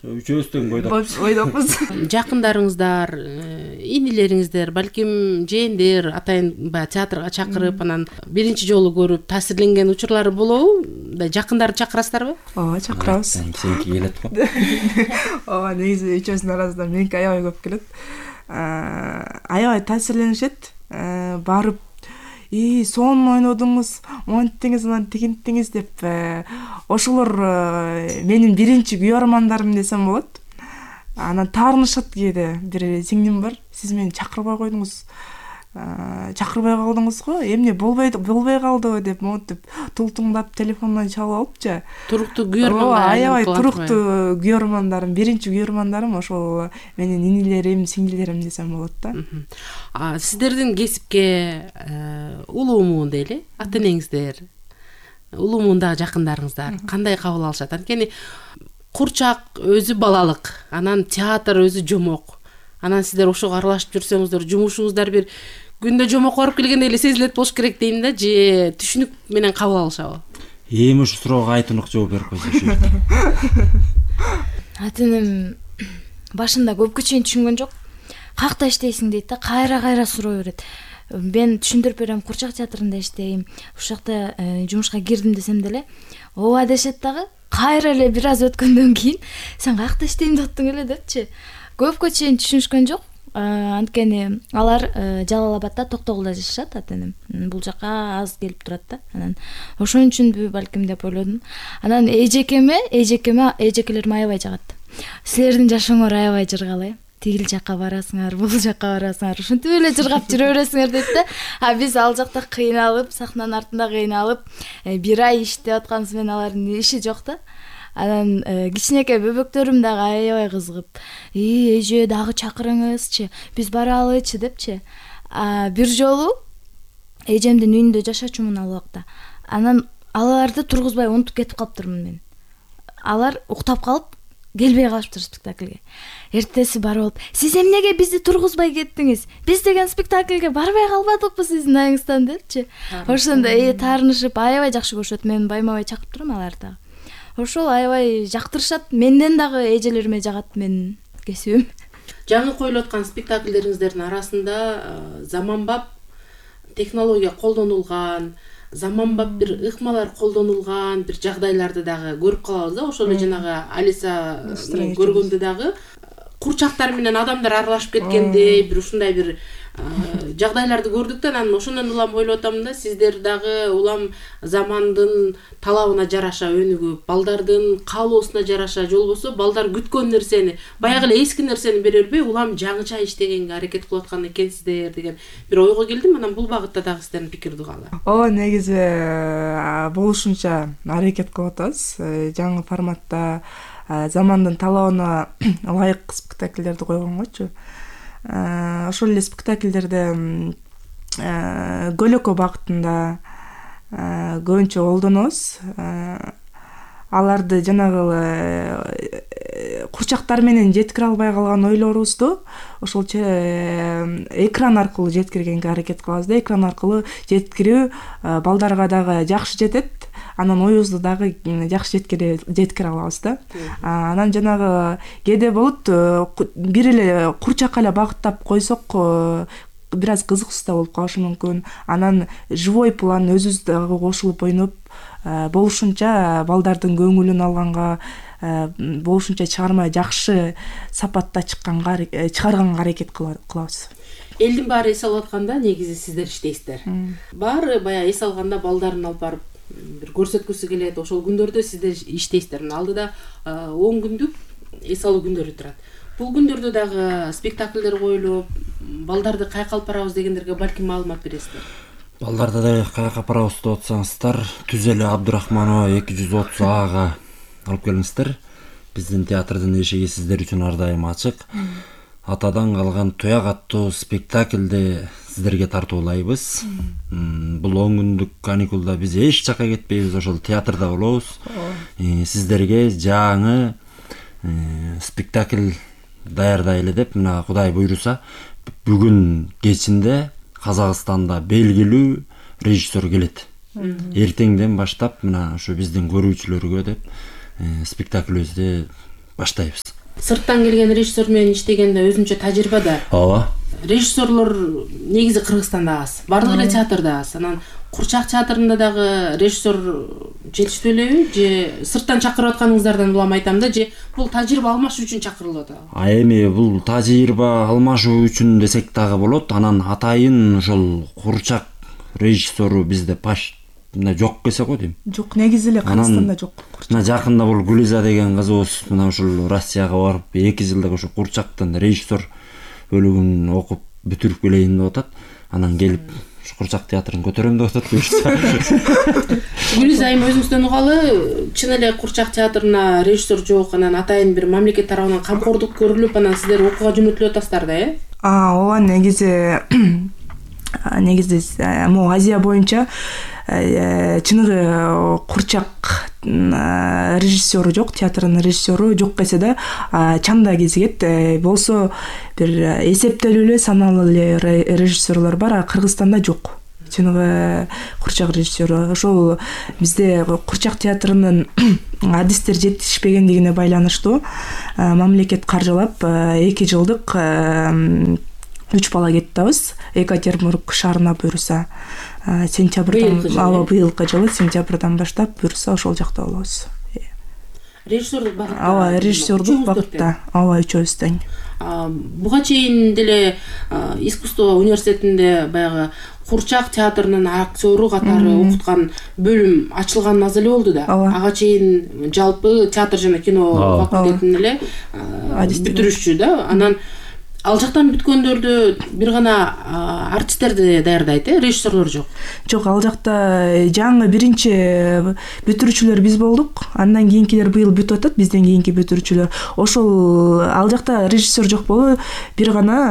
Үчөөбүз тең бойдокпуз. Жакындарыңыздар, инилериңиздер, балким жээндер атайын баягы театрга чакырып, анан биринчи жолу көрүп таасирленген учурлары болобу? Жакындарды чакырасыздарбы? Ооба, чакырабыз. Сеники келет го. Ооба, негизи үчөөбүздүн арасында меники аябай көп келет. Аябай таасирленишет. Барып сонун ойнодуңуз, монттиңиз, анан тигинттиңиз деп ошолор менин биринчи күйөрмандарым десем болот. Анан таарынышат кээде. Бир сиңдим бар, сиз мени чакырбай койдуңуз. Чакырбай калдыңыз го, эмне болбой калдыбы деп монтип тултуңдап телефондон чалып алыпчы. Туруктуу күйөрман. Аябай туруктуу күйөрмандарым, биринчи күйөрмандарым ошол менин инилерим, сиңдилерим десем болот да. Сиздердин кесипке улуумун дейли, ата-энеңиздер, улуумундагы жакындарыңыздар кандай кабыл алышат? Анткени курчак өзү балалык, анан театр өзү жомок. Анан сиздер ошого аралашып жүрсөңүздөр, жумушуңуздар бир күндө жомок барып келгендей эле сезилет болуш керек дейм да, же түшүнүк менен кабыл алышабы? Эми ушу суроого Айтунук жооп берип койсо. Ата-энем башында көпкө чейин түшүнгөн жок. Какта иштейсиң дейт да, кайра суроо берет. Мен түшүндүрүп берем, курчак театрында иштейм. Ушул жакта жумушка кирдим десем деле, ооба дешет дагы. Кайра эле бир аз өткөндөн кийин сен какта иштейм деп аттың эле депчи. Көпкө чейин түшүнүшкөн жок. Анткени алар Жалал Абадда Токтогулда жашашат, ата-энем. Бул жака аз келип турат да. Анан ошон үчүнбү балким деп ойлодум. Анан эжекелерим аябай жагат. Силердин жашооңор аябай жыргал, тигил жака барасыңар, бул жака барасыңар, ушинтип эле жыргап жүрө бересиңер дейт да. Биз ал жакта кыйналып, сахнанын артында кыйналып, бир ай иштеп атканыбыз менен алардын иши жок да. Анан кичинекей бөбөктөрүм дагы аябай кызыгып, эже дагы чакырыңызчы, биз баралычы депчи. Бир жолу эжемдин үйүндө жашачумун ал убакта. Анан аларды тургузбай унутуп кетип калыптырмын мен. Алар уктап калып, келбей калыптыр спектакльге. Эртеси барып, сиз эмнеге бизди тургузбай кеттиңиз? Биз деген спектакльге барбай калбадыкпы сиздин айыңыздан депчи. Ошондо таарынышып аябай жакшы көрүшөт. Мен байма-бай чакырып турам аларды. Ошол аябай жактырышат. Менден дагы эжелериме жагат менин кесибим. Жаңы коюлуп аткан спектакльдериңиздердин арасында заманбап технология колдонулган, заманбап бир ыкмалар колдонулган бир жагдайларды дагы көрүп калабыз да. Ошол эле жанагы Алиса көргөндө дагы курчактар менен адамдар аралашып кеткендей бир ушундай бир жагдайларды көрдүк да. Анан ошондон улам ойлоп атам да, сиздер дагы улам замандын талабына жараша өнүгүп, балдардын каалоосуна жараша, же болбосо балдар күткөн нерсени, баягы эле эски нерсени бере бербей, улам жаңыча иштегенге аракет кылып аткан экенсиздер деген бир ойго келдим. Анан бул багытта дагы сиздердин пикирди каалайм. Негизи болушунча аракет кылып атабыз. Жаңы форматта замандын талабына ылайык спектакльдерди койгонгочу. Ошол эле спектакльдерде көлөкө багытында көбүнчө колдонобуз. Аларды жанагы курчактар менен жеткире албай калган ойлорубузду ошолчо экран аркылуу жеткиргенге аракет кылабыз да. Экран аркылуу жеткирүү балдарга дагы жакшы жетет. Анан оюбузду дагы жакшы жеткире алабыз да. Анан жанагы кээде болот, бир эле курчакка эле багыттап койсок бир аз кызыксыз да болуп калышы мүмкүн. Анан живой план өзүбүз дагы кошулуп ойноп, болушунча балдардын көңүлүн алганга, болушунча чыгарма жакшы сапатта чыгарганга аракет кылабыз. Элдин баары эс алып атканда негизи сиздер иштейсиздер. Баары баягы эс алганда балдарын алып барып бир көрсөткүсү келет. Ошол күндөрдө сиздер иштейсиздер. Алдыда 10 күндүк эс алуу күндөрү турат. Бул күндөрдө дагы спектакльдер коюлуп, балдарды кайка алып барабыз дегендерге балким маалымат бересиздер. Балдарды да кайка алып барабыз деп атсаңыздар, Түзеле Абдурахманова 230А алып келиңиздер. Биздин театрдын эшиги сиздер үчүн ар дайым ачык. Атадан калган Туяк аттуу спектакльди сиздерге тартуулайбыз. Бул 10 күндүк каникулда биз эч жака кетпейбиз, ошол театрда болобуз. Сиздерге жаңы спектакль даярдайлы деп, мына Кудай буйруса, бүгүн кечинде Казакстанда белгилүү режиссер келет. Эртеңден баштап мына ушу биздин көрүүчүлөргө деп спектаклибизди баштайбыз. сырттан келген режиссер менен иштегенде өзүнчө тажрыйба да. Ооба. Режиссерлор негизи Кыргызстанда аз, баардык эле театрда аз. Анан Курчак театрында дагы режиссер жетиштүү элеби же сырттан чакырып атканыңыздардан улам айтам да, же бул тажрыйба алмашуу үчүн чакырылып атабы? Эми бул тажрыйба алмашуу үчүн десек дагы болот. Анан атайын ошол Курчак режиссеру бизде мына жок келсе го дейм. Жок, негизи эле Кыргызстанда жок. Мына жакында бул Гүлиза деген кызыбыз мына ушул Россияга барып 2 жылдык ошо Курчактан режиссер бөлүгүн окуп бүтүрүп келейин деп атат. Анан келип Курчак театрын көтөрөм деп атат буюрса. Гүлиза айым өзүңүздөн угалы, чын эле Курчак театрына режиссер жок, анан атайын бир мамлекет тарабынан камкордук көрүлүп, анан сиздер окууга жөнөтүлүп атасыздар да, э? Ооба, негизи могу Азия боюнча чыныгы Курчак режиссеру жок, театрдын режиссеру жок келсе да чанда кезигет. Болсо бир эсептелүү эле саналуу эле режиссерлор бар, а Кыргызстанда жок. Чыныгы Курчак режиссеру. Ошол бизде Курчак театрынын адистер жетишпегендигине байланыштуу мамлекет каржылап 2 жылдык 3 бала кетабыз. Екатеринбург шаарына буюрса сентябрдан, быйылкы жылы сентябрдан баштап буюрса ошол жакта болобуз. Режиссердук багытта. Ооба, режиссердук багытта. Ооба, үчөөбүз тең. Буга чейин деле искусство университетинде баягы Курчак театрынын актеру катары окуткан бөлүм ачылган аз эле болду да. Ага чейин жалпы театр жана кино факультетинин эле бүтүрүшчү да. Анан ал жактан бүткөндөрдү бир гана артисттерди даярдайт, режиссерлор жок. Жок, ал жакта жаңы биринчи бүтүрүүчүлөр биз болдук. Андан кийинкилер быйыл бүтүп атат, бизден кийинки бүтүрүүчүлөр. Ошол ал жакта режиссер жок болуп, бир гана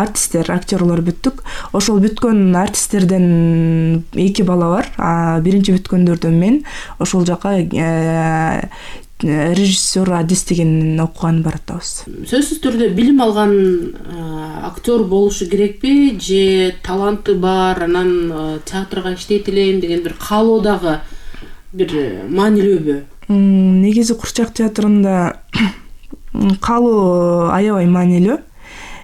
артисттер, актерлор бүттүк. Ошол бүткөн артисттерден 2 бала бар. Биринчи бүткөндөрдөн мен ошол жака режиссер адистигин окуган баратабыз. Сөзсүз түрдө билим алган актер болушу керекпи же таланты бар, анан театрга иштейт элем деген бир каалоо дагы бир маанилүүбү? Негизи Курчак театрында каалоо аябай маанилүү.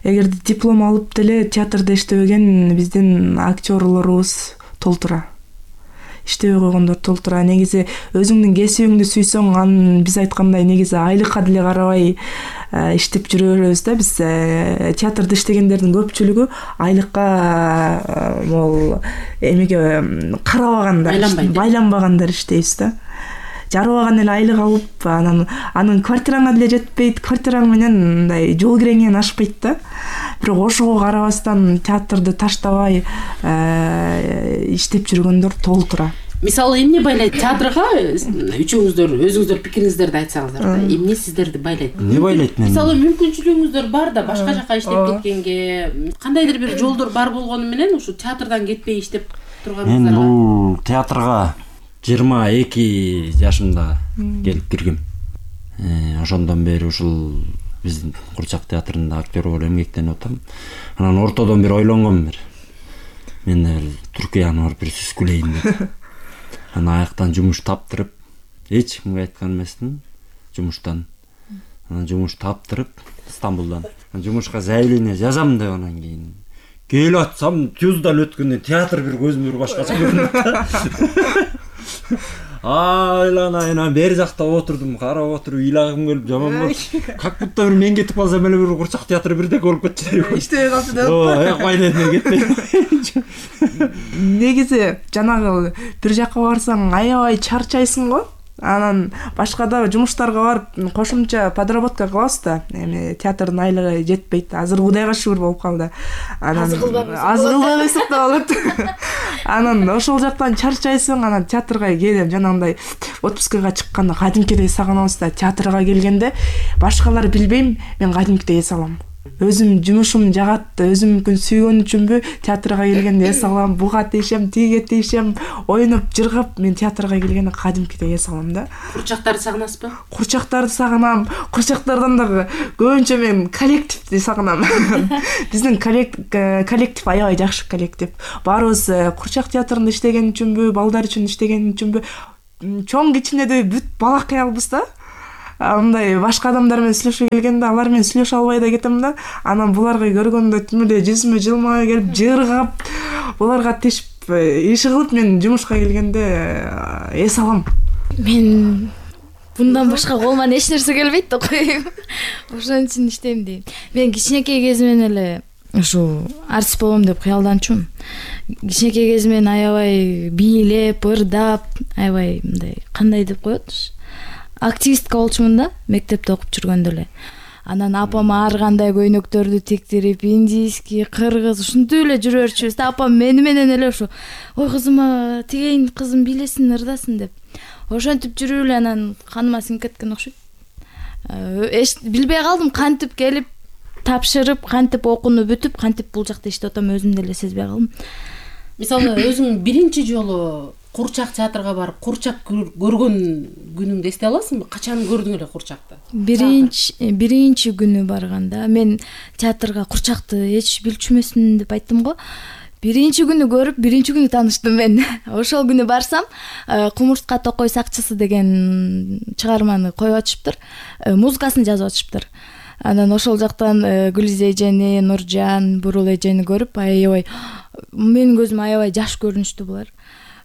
Эгерде диплом алып деле театрда иштебеген биздин актерлорубуз толтура. Иштебей койгондор толтура. Негизи өзүңдүн кесибиңди сүйсөң, анын биз айткандай негизи айлыкка деле карабай иштеп жүрө беребиз да. Биз театрда иштегендердин көпчүлүгү айлыкка могул эмеге карабаганда, байланбагандар иштейбиз да. Жарыбаган эле айлык алып, анын квартираңа деле жетпейт, квартираң менен мындай жол киреңен ашпайт да. Бирок ошого карабастан театрды таштабай иштеп жүргөндөр толтура. Мисалы, эмне байлайт театрга? Үчөөңүздөр өзүңүздөр пикириңиздерди айтсаңыздар да. Эмне сиздерди байлайт? Эмне байлайт мени? Мисалы, мүмкүнчүлүгүңүздөр бар да, башка жака иштеп кеткенге, кандайдыр бир жолдор бар болгону менен ушу театрдан кетпей иштеп турганыңыздар. Мен бул театрга 22 жашымда келип киргем. Ошондон бери ушул биздин Курчак театрында актер болуп эмгектенип атам. Анан ортодон бир ойлонгом бир. Мен Түркияны барып бир сүскүлейин деп. Анан аяктан жумуш таптырып, эч кимге айткан эмесмин жумуштан. Анан жумуш таптырып Стамбулдан. Жумушка заявление жазам деп анан кийин келип атсам, Тюздал өткөндө театр бир көзүмө бир башкача көрүнүп. Айланайынан бери жакта отурдум, карап отуруп ыйлагым келип жаман болду. Как будто бир мен кетип калсам эле бир Курчак театры бирдек болуп кетчү. Иштебей калчу деп. Кайда кетпей. Негизи жанагы бир жака барсаң аябай чарчайсың го. Анан башкада жумуштарга барып кошумча подработка кылабыз да. Эми театрдын айлыгы жетпейт. Азыр Кудайга шүгүр болуп калды. Анан азгылбайсак да болот. Анан ошол жактан чарчайсың, анан театрга келем, жанагындай отпускага чыкканда кадимкидей сагынабыз да. Театрга келгенде башкалар билбейм, мен кадимкидей эс алам. Өзүм жумушум жагат, өзүм мүмкүн сүйгөн үчүнбү театрга келгенде эс алам, буга тийишем, тиге тийишем, оюнуп, жыргап, мен театрга келгенде кадимкидей эс алам да. Курчактарды сагынасызбы? Курчактарды сагынам. Курчактардан дагы көбүнчө мен коллективди сагынам. Биздин коллектив аябай жакшы коллектив. Баарыбыз Курчак театрында иштеген үчүнбү, балдар үчүн иштеген үчүнбү, чоң кичинедей бүт балакаялбыз да. мындай башка адамдар менен сүйлөшүп келгенде алар менен сүйлөшө албай да кетем да. Анан буларга көргөндө тим эле жүзүмө жылмая келип, жыргап, буларга тешип, иши кылып мен жумушка келгенде эс алам. Мен мындан башка колуман эч нерсе келбейт да коеюн. Ошон үчүн иштейм дейм. Мен кичинекей кезимден эле ушул артист болом деп кыялданчумун. Кичинекей кезимден аябай бийлеп, ырдап, аябай мындай кандай деп коет, активистка болчумун да, мектепте окуп жүргөндө эле. Анан апам ар кандай көйнөктөрдү тиктирип, индийский, кыргыз ушинтип эле жүрө берчүбүз да. Апам мени менен эле ушу, ой кызыма тигейин, кызым бийлесин, ырдасын деп. Ошентип жүрүп эле анан каныма сиңип кеткен окшойт. Билбей калдым, кантип келип тапшырып, кантип окууну бүтүп, кантип бул жакта иштеп атам, өзүм деле сезбей калдым. Мисалы өзүң биринчи жолу Курчак театрга барып, Курчак көргөн күнүңдү эстей аласыңбы? Качан көрдүң эле Курчакты? Биринчи күнү барганда мен театрга Курчакты эч билчү эмесмин деп айттым го. Биринчи күнү көрүп, биринчи күнү тааныштым мен. Ошол күнү барсам, Кумурска Токой сакчысы деген чыгарманы коюп атышыптыр. Музыкасын жазып атышыптыр. Анан ошол жактан Гүлиз эжени, Нуржан, Бурул эжени көрүп, аябай менин көзүмө аябай жаш көрүнүштү булар.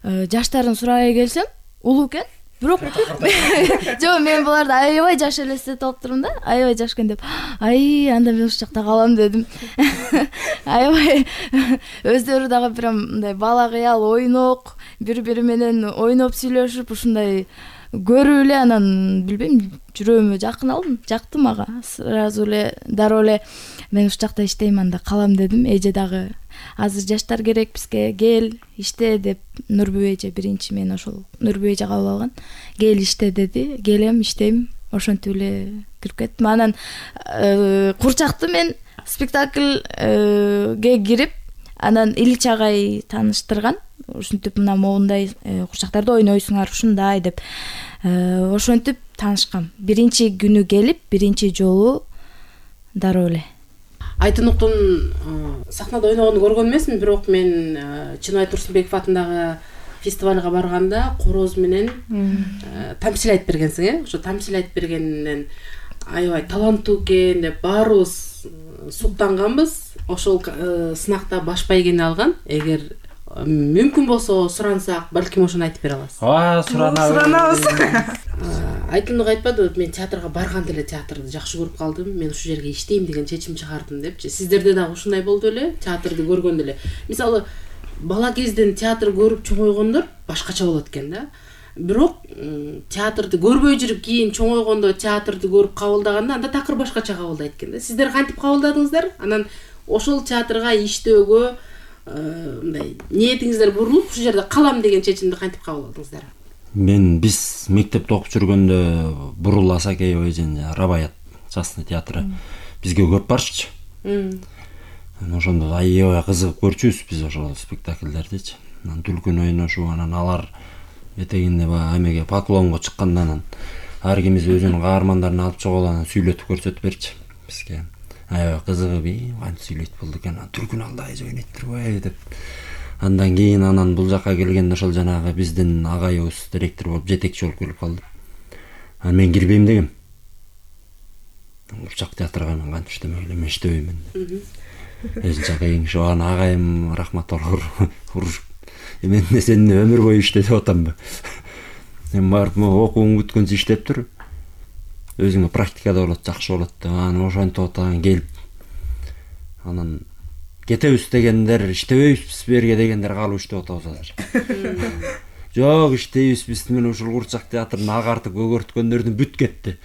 Жаштарын сурабай келсем, улуу экен. Бирок жок, мен буларды аябай жаш элестетип алыптырмын да. Аябай жаш экен деп. Анда мен ушул жакта калам дедим. Аябай өздөрү дагы прям мындай бала кыял, ойнок, бири-бири менен ойноп сүйлөшүп, ушундай көрүп эле анан билбейм, жүрөгүмө жакын алдым, жакты мага. Сразу эле, дароо эле мен ушул жакта иштейм, анда калам дедим. Эже дагы азыр жаштар керек бизге, кел иште деп, Нурбү эже биринчи мен ошол Нурбү эже кабыл алган. Кел иште деди, келем, иштейм. Ошентип эле кирип кеттим. Анан Курчакты мен спектакльге кирип, анан Ильич агай тааныштырган. Ушинтип мына моундай Курчактарды ойнойсуңар ушундай деп. Ошентип таанышкам. Биринчи күнү келип, биринчи жолу дароо эле. Айтыныктын сахнада ойногонду көргөн эмесмин, бирок мен Чыныбай Турсунбеков атындагы фестивалга барганда короз менен тамсил айтып бергенсиң, ошо тамсил айтып бергенинен аябай таланттуу экен деп баарыбыз суктанганбыз. Ошол сынакта баш байгени алган. Эгер мүмкүн болсо сурансак, балким ошону айтып бере аласыз. Суранабыз. Айтымдык айтпады, мен театрга барганда эле театрды жакшы көрүп калдым. Мен ушул жерге иштейм деген чечим чыгардым депчи. Сиздерде дагы ушундай болду эле, театрды көргөндө эле. Мисалы, бала кезден театр көрүп чоңойгондор башкача болот экен да. Бирок театрды көрбөй жүрүп кийин чоңойгондо театрды көрүп кабылдаганда анда такыр башкача кабылдайт экен да. Сиздер кантип кабылдадыңыздар? Анан ошол театрга иштөөгө мындай ниетиңиздер бурулуп, ушул жерде калам деген чечимди кантип кабыл алдыңыздар? Биз мектепте окуп жүргөндө Бурул Асакеева эжени Рабаят частный театры бизге көп барчу. Ошондо аябай кызыгып көрчүбүз биз ошол спектакльдердичи. Анан түлкүн ойношуп, анан алар этегинде баягы эмеге поклонго чыкканда анан ар кимиз өзүнүн каармандарын алып чыгып анан сүйлөтүп көрсөтүп берчи бизге. Аябай кызыгып, кантип сүйлөйт болду экен, түлкүн алда эже ойнойт турбайбы деп. Андан кийин анан бул жака келгенде ошол жанагы биздин агайыбыз директор болуп, жетекчи болуп келип калды. Анан мен кирбейм дегем. Курчак театрга мен кантип иштемек элем, мен иштебеймин. Эжинче кыйынчы ана агайым рахматуллах урушуп, мен сени өмүр бою иште деп атамбы. Мен барып окууң бүткөнчө иштеп тур. Өзүңө практикада болот, жакшы болот деп анан ошентип атаган келип. Анан кетебиз дегендер, иштебейбиз берге дегендер калып иштеп атабыз азыр. Жок, иштейбиз биз менен ушул Курчак театрын агартып көгөрткөндөрдүн бүт кетти.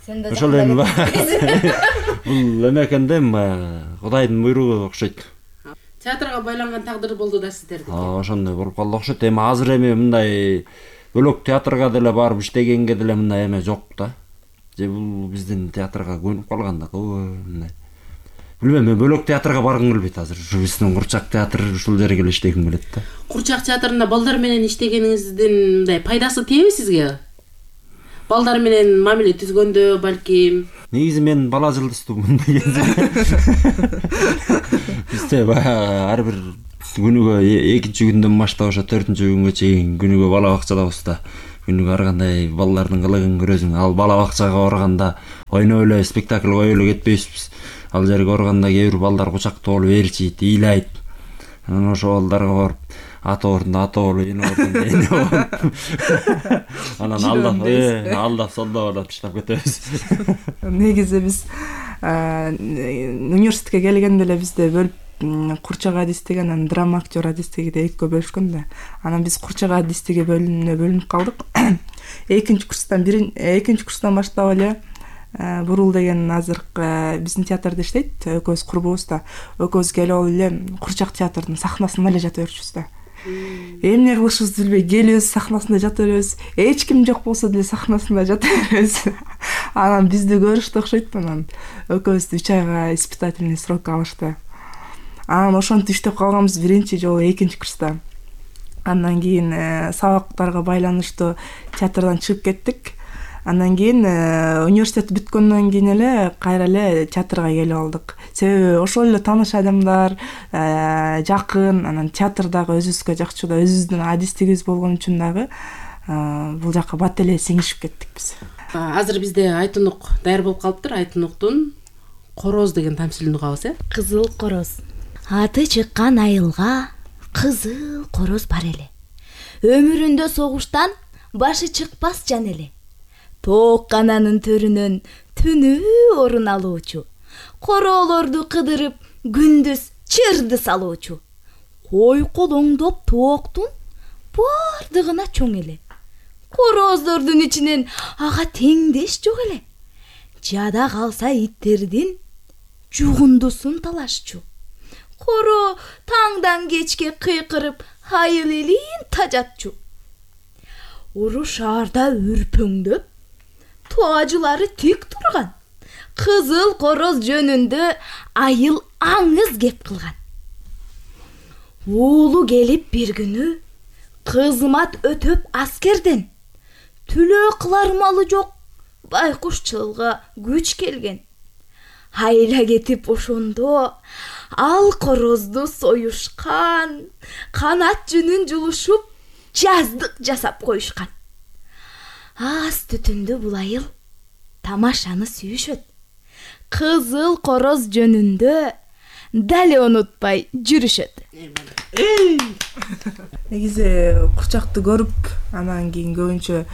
Ошол эми бул эме экен да, Кудайдын буйругу окшойт. Театрга байланган тагдыр болду да сиздердики. Ошондой болуп калды окшойт. Эми азыр эми мындай бөлөк театрга деле барып иштегенге деле мындай эме жок да. Же бул биздин театрга көнүп калганда мындай. Билбейм, мен бөлөк театрга баргым келбейт азыр. Ушу биздин Курчак театры ушул жерге эле иштегим келет да. Курчак театрында балдар менен иштегениңиздин мындай пайдасы тиеби сизге? Балдар менен мамиле түзгөндө балким. Негизи мен бала жылдыстуумун дегенде. Бизде ар бир күнүгө экинчи күндөн баштап ошо 4-күнгө чейин күнүгө бала бакчадабыз да. күнүгө ар кандай балдардын кылыгын көрөсүң. Ал бала бакчага барганда ойноп эле спектакль коюп эле кетпейбизбиз. Ал жерге барганда кээ бир балдар кучактап алып ээрчийт, ыйлайт. Анан ошол балдарга барып ата ордунда ата болуп, эне ордунда эне болуп. Анан алдап солдоп таштап кетебиз. Негизи биз университетке келгенде эле бизде бөлүп курчак адистиги анан драма актер адистиги деп экиге бөлүшкөн да. Анан биз курчак адистиги бөлүнүп калдык. Экинчи курстан баштап эле Бурул деген азыркы биздин театрда иштейт, экөөбүз курбубуз да. Экөөбүз келип алып эле курчак театрдын сахнасында эле жата берчүбүз да. Эмне кылышыбызды билбей келебиз, сахнасында жата беребиз. Эч ким жок болсо деле сахнасында жата беребиз. Анан бизди көрүштү окшойт, анан экөөбүздү 3 айга испытательный срокко алышты. Анан ошентип иштеп калганбыз биринчи жолу экинчи курста. Андан кийин сабактарга байланыштуу театрдан чыгып кеттик. Андан кийин университет бүткөндөн кийин эле кайра эле театрга келип алдык. Себеби ошол эле тааныш адамдар, жакын, анан театрдагы өзүбүзгө жакчу да, өзүбүздүн адистигибиз болгон үчүн дагы бул жака бат эле сиңишип кеттик биз. Азыр бизде Айтунук даяр болуп калыптыр. Айтунуктун Короз деген тамсилин угабыз, Кызыл короз. Аты чыккан айылга кызыл короз бар эле. Өмүрүндө согуштан башы чыкпас жан эле. Тоок кананын төрүнөн түнү орун алуучу. Короолорду кыдырып күндүз чырды салуучу. Кой колоңдоп тооктун бардыгына чоң эле. Короздордун ичинен ага теңдеш жок эле. Жада калса иттердин жугундусун талашчу. Коро таңдан кечке кыйкырып айыл элин тажатчу. Уру шаарда үрпөңдөп туажылары тик турган. Кызыл короз жөнүндө айыл аңыз кеп кылган. Уулу келип бир күнү кызмат өтөп аскерден түлөө кылар малы жок байкушчылга күч келген. Айла кетип ошондо ал корозду союшкан, канат жүнүн жулушуп жаздык жасап коюшкан. Аз түтүндө бул айыл тамашаны сүйүшөт. Кызыл короз жөнүндө дале унутпай жүрүшөт. Негизи курчакты көрүп, анан кийин көбүнчө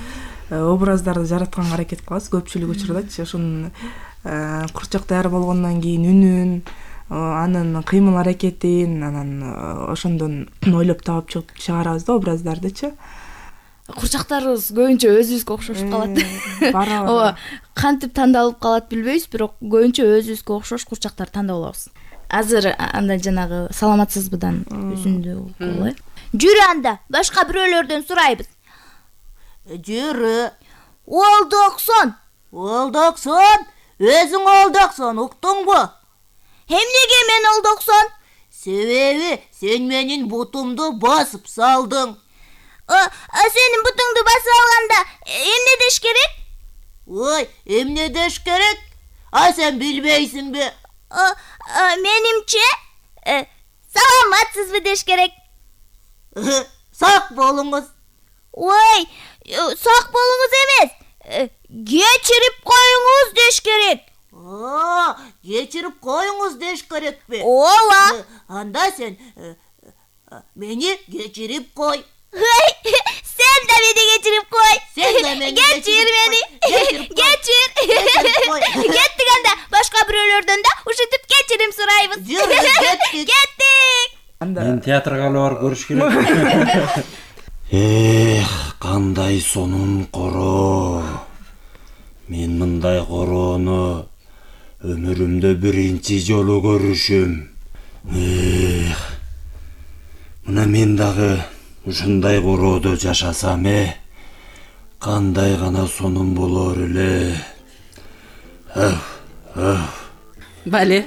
образдарды жаратканга аракет кылабыз көпчүлүк учурдачы. Ошонун курчак даяр болгондон кийин үнүн, анын кыймыл аракетин, анан ошондон ойлоп таап чыгарабыз да образдардычы. Курчактарыбыз көбүнчө өзүбүзгө окшошуп калат. Ооба, кантип тандалып калат билбейбиз, бирок көбүнчө өзүбүзгө окшош курчактар тандап алабыз. Азыр анда жанагы саламатсызбыдан үзүндү угулай. Жүрү анда, башка бирөөлөрдөн сурайбыз. Жүрү. Олдоксон. Олдоксон. Өзүң олдоксон, уктуңбу? Эмнеге мен олдоксон? Себеби сен менин бутумду басып салдың. Сенин бутуңду басып алганда эмне деш керек? Ой, эмне деш керек? Сен билбейсиңби? Менимче саламатсызбы деш керек. Сак болуңуз. Ой, сак болуңуз эмес. Кечирип коюңуз деш керек. Кечирип коюңуз деш керекпи? Ооба. Анда сен мени кечирип кой. Sen de beni geçirip koy. Sen de beni geçir beni. Geçir. Gittik anda. Başka birilerden de uşutup geçirim sırayımız. Gittik. Мен театрга алып барып көрүш керек. Кандай сонун коро. Мен мындай короону өмүрүмдө биринчи жолу көрүшүм. Мына мен дагы ушундай короодо жашасам, кандай гана сонун болор эле. Бале.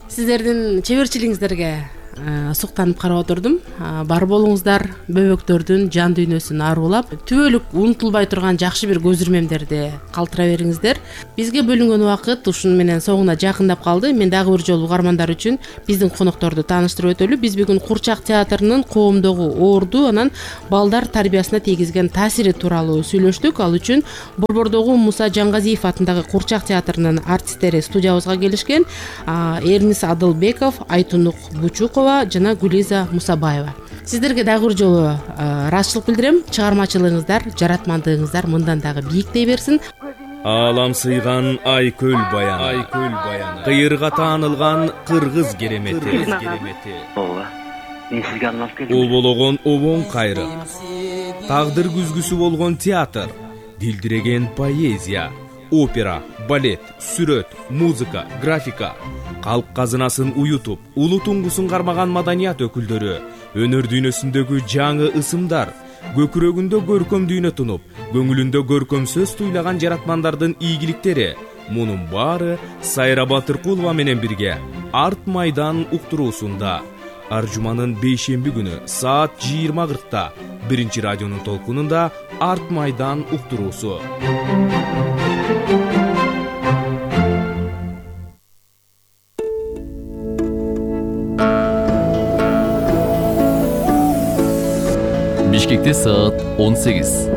Сиздердин чеберчилигиңиздерге суктанып карап отурдум. Бар болуңуздар бөбөктөрдүн жан дүйнөсүн аруулап, түбөлүк унутулбай турган жакшы бир көз ирмемдерди калтыра бериңиздер. Бизге бөлүнгөн убакыт ушуну менен соңуна жакындап калды. Мен дагы бир жолу угармандар үчүн биздин конокторду тааныштырып өтөлү. Биз бүгүн Курчак театрынын коомдогу орду, анан балдар тарбиясына тийгизген таасири тууралуу сүйлөштүк. Ал үчүн Борбордогу Муса Жангазиев атындагы Курчак театрынын артисттери студиябызга келишкен. Эрнис Адылбеков, Айтунук Бучукова жана Гулиза Мусабаева. Сиздерге дагы бир жолу ыраазычылык билдирем. Чыгармачылыгыңыздар, жаратмандыгыңыздар мындан дагы бийиктей берсин. Аалам сыйган Айкөл баяны, кыйырга таанылган кыргыз керемети, Ооба, мен сизге алып келдим. обологон обоң кайры, тагдыр күзгүсү болгон театр, дилдиреген поэзия, опера, балет, сүрөт, музыка, графика, калк казынасын уютуп, улуу туңгусун кармаган маданият өкүлдөрү, өнөр дүйнөсүндөгү жаңы ысымдар, көкүрөгүндө көркөм дүйнө тунуп, көңүлүндө көркөм сөз туйлаган жаратмандардын ийгиликтери. Мунун баары Сайра Батыркулова менен бирге Арт майдан уктуруусунда ар жуманын бейшемби күнү саат 20:40 биринчи радионун толкунунда Арт майдан уктуруусу. Бишкекте саат 18.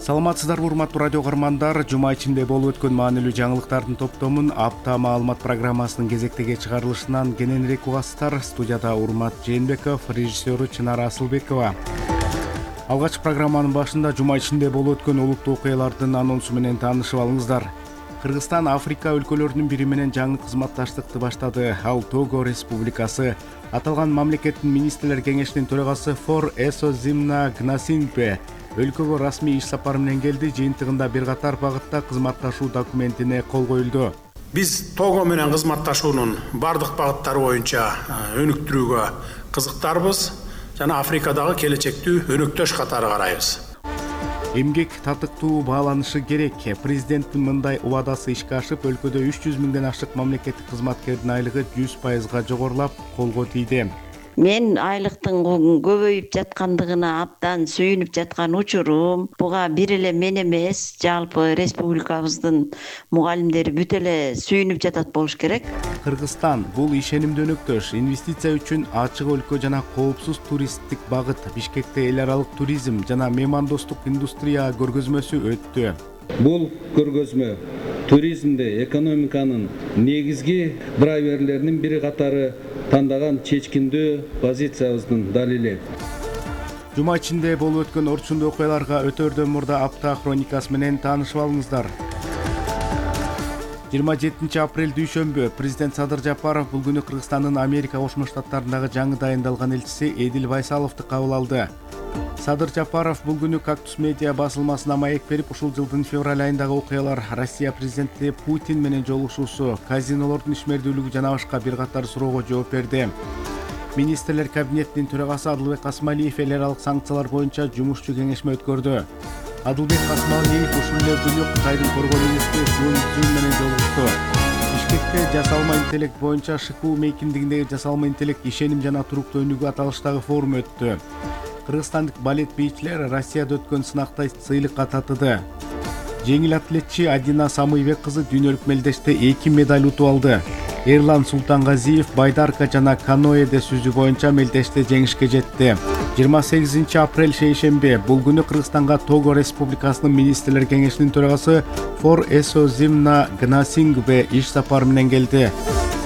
Саламатсыздарбы урматтуу радио каармандар, жума ичинде болуп өткөн маанилүү жаңылыктардын топтомун апта маалымат программасынын кезектеги чыгарылышынан кененирээк угасыздар. Студияда Урмат Жээнбеков, режиссеру Чынара Асылбекова. Алгач программанын башында жума ичинде болуп өткөн улуттуу окуялардын анонсу менен таанышып алыңыздар. Кыргызстан Африка өлкөлөрүнүн бири менен жаңы кызматташтыкты баштады. Ал Того Республикасы. Аталган мамлекеттин министрлер кеңешинин төрагасы Фор Эсозимна Гнасингпе өлкөгө расмий иш сапары менен келди. Жыйынтыгында бир катар багытта кызматташуу документине кол коюлду. Биз Того менен кызматташуунун бардык багыттары боюнча өнүктүрүүгө кызыктарбыз жана Африкадагы келечекти өнөктөш катары карайбыз. Эмгек татыктуу бааланышы керек. Президенттин мындай убадасы ишке ашып, өлкөдө 300 миңден ашык мамлекеттик кызматкердин айлыгы 100% жогорулап, колго тийди. Мен айлыктын көбөйүп жаткандыгына абдан сүйүнүп жаткан учурум. Буга бир эле мен эмес, жалпы республикабыздын мугалимдери бүт эле сүйүнүп жатат болуш керек. Кыргызстан бул ишенимдүү өнөктөш, инвестиция үчүн ачык өлкө жана коопсуз туристтик багыт. Бишкекте эл аралык туризм жана меймандостук индустрия көргөзмөсү өттү. Бул көргөзмө туризмде экономиканын негизги драйверлеринин бири катары тандаган чечкиндүү позициябыздын далили. Жума ичинде болуп өткөн орчундуу окуяларга өтөрдөн мурда апта хроникасы менен таанышып алыңыздар. 27 апрель дүйшөмбү президент Садыр Жапаров бул күнү Кыргызстандын Америка Кошмо Штаттарындагы жаңы дайындалган элчиси Эдил Байсаловду кабыл алды. Садыр Жапаров бул күнү Кактус медиа басылмасына маек берип, ушул жылдын февраль айындагы окуялар, Россия президенти Путин менен жолугушуусу, казинолордун ишмердүүлүгү жана башка бир катар суроого жооп берди. Министрлер кабинетинин төрагасы Адылбек Касмалиев эл аралык санкциялар боюнча жумушчу кеңешме өткөрдү. Адылбек Касмалиев ушул эле күнү Кытайдын коргоо министри Сун Цзюн менен жолугушту. Бишкекте жасалма интеллект боюнча ШКУ мейкиндигиндеги жасалма интеллект ишеним жана туруктуу өнүгүү аталыштагы форум өттү. Кыргызстандык балет бийчилер Россияда өткөн сынакта сыйлыкка татыды. Жеңил атлетчи Адина Самыйбек кызы дүйнөлүк мелдеште 2 медаль утуп алды. Эрлан Султангазиев байдарка жана каноэде сүзүү боюнча мелдеште жеңишке жетти. 28 апрель шейшемби бул күнү Кыргызстанга Того Республикасынын министрлер кеңешинин төрагасы Фор Эсозимна Гнасингпе иш сапары менен келди.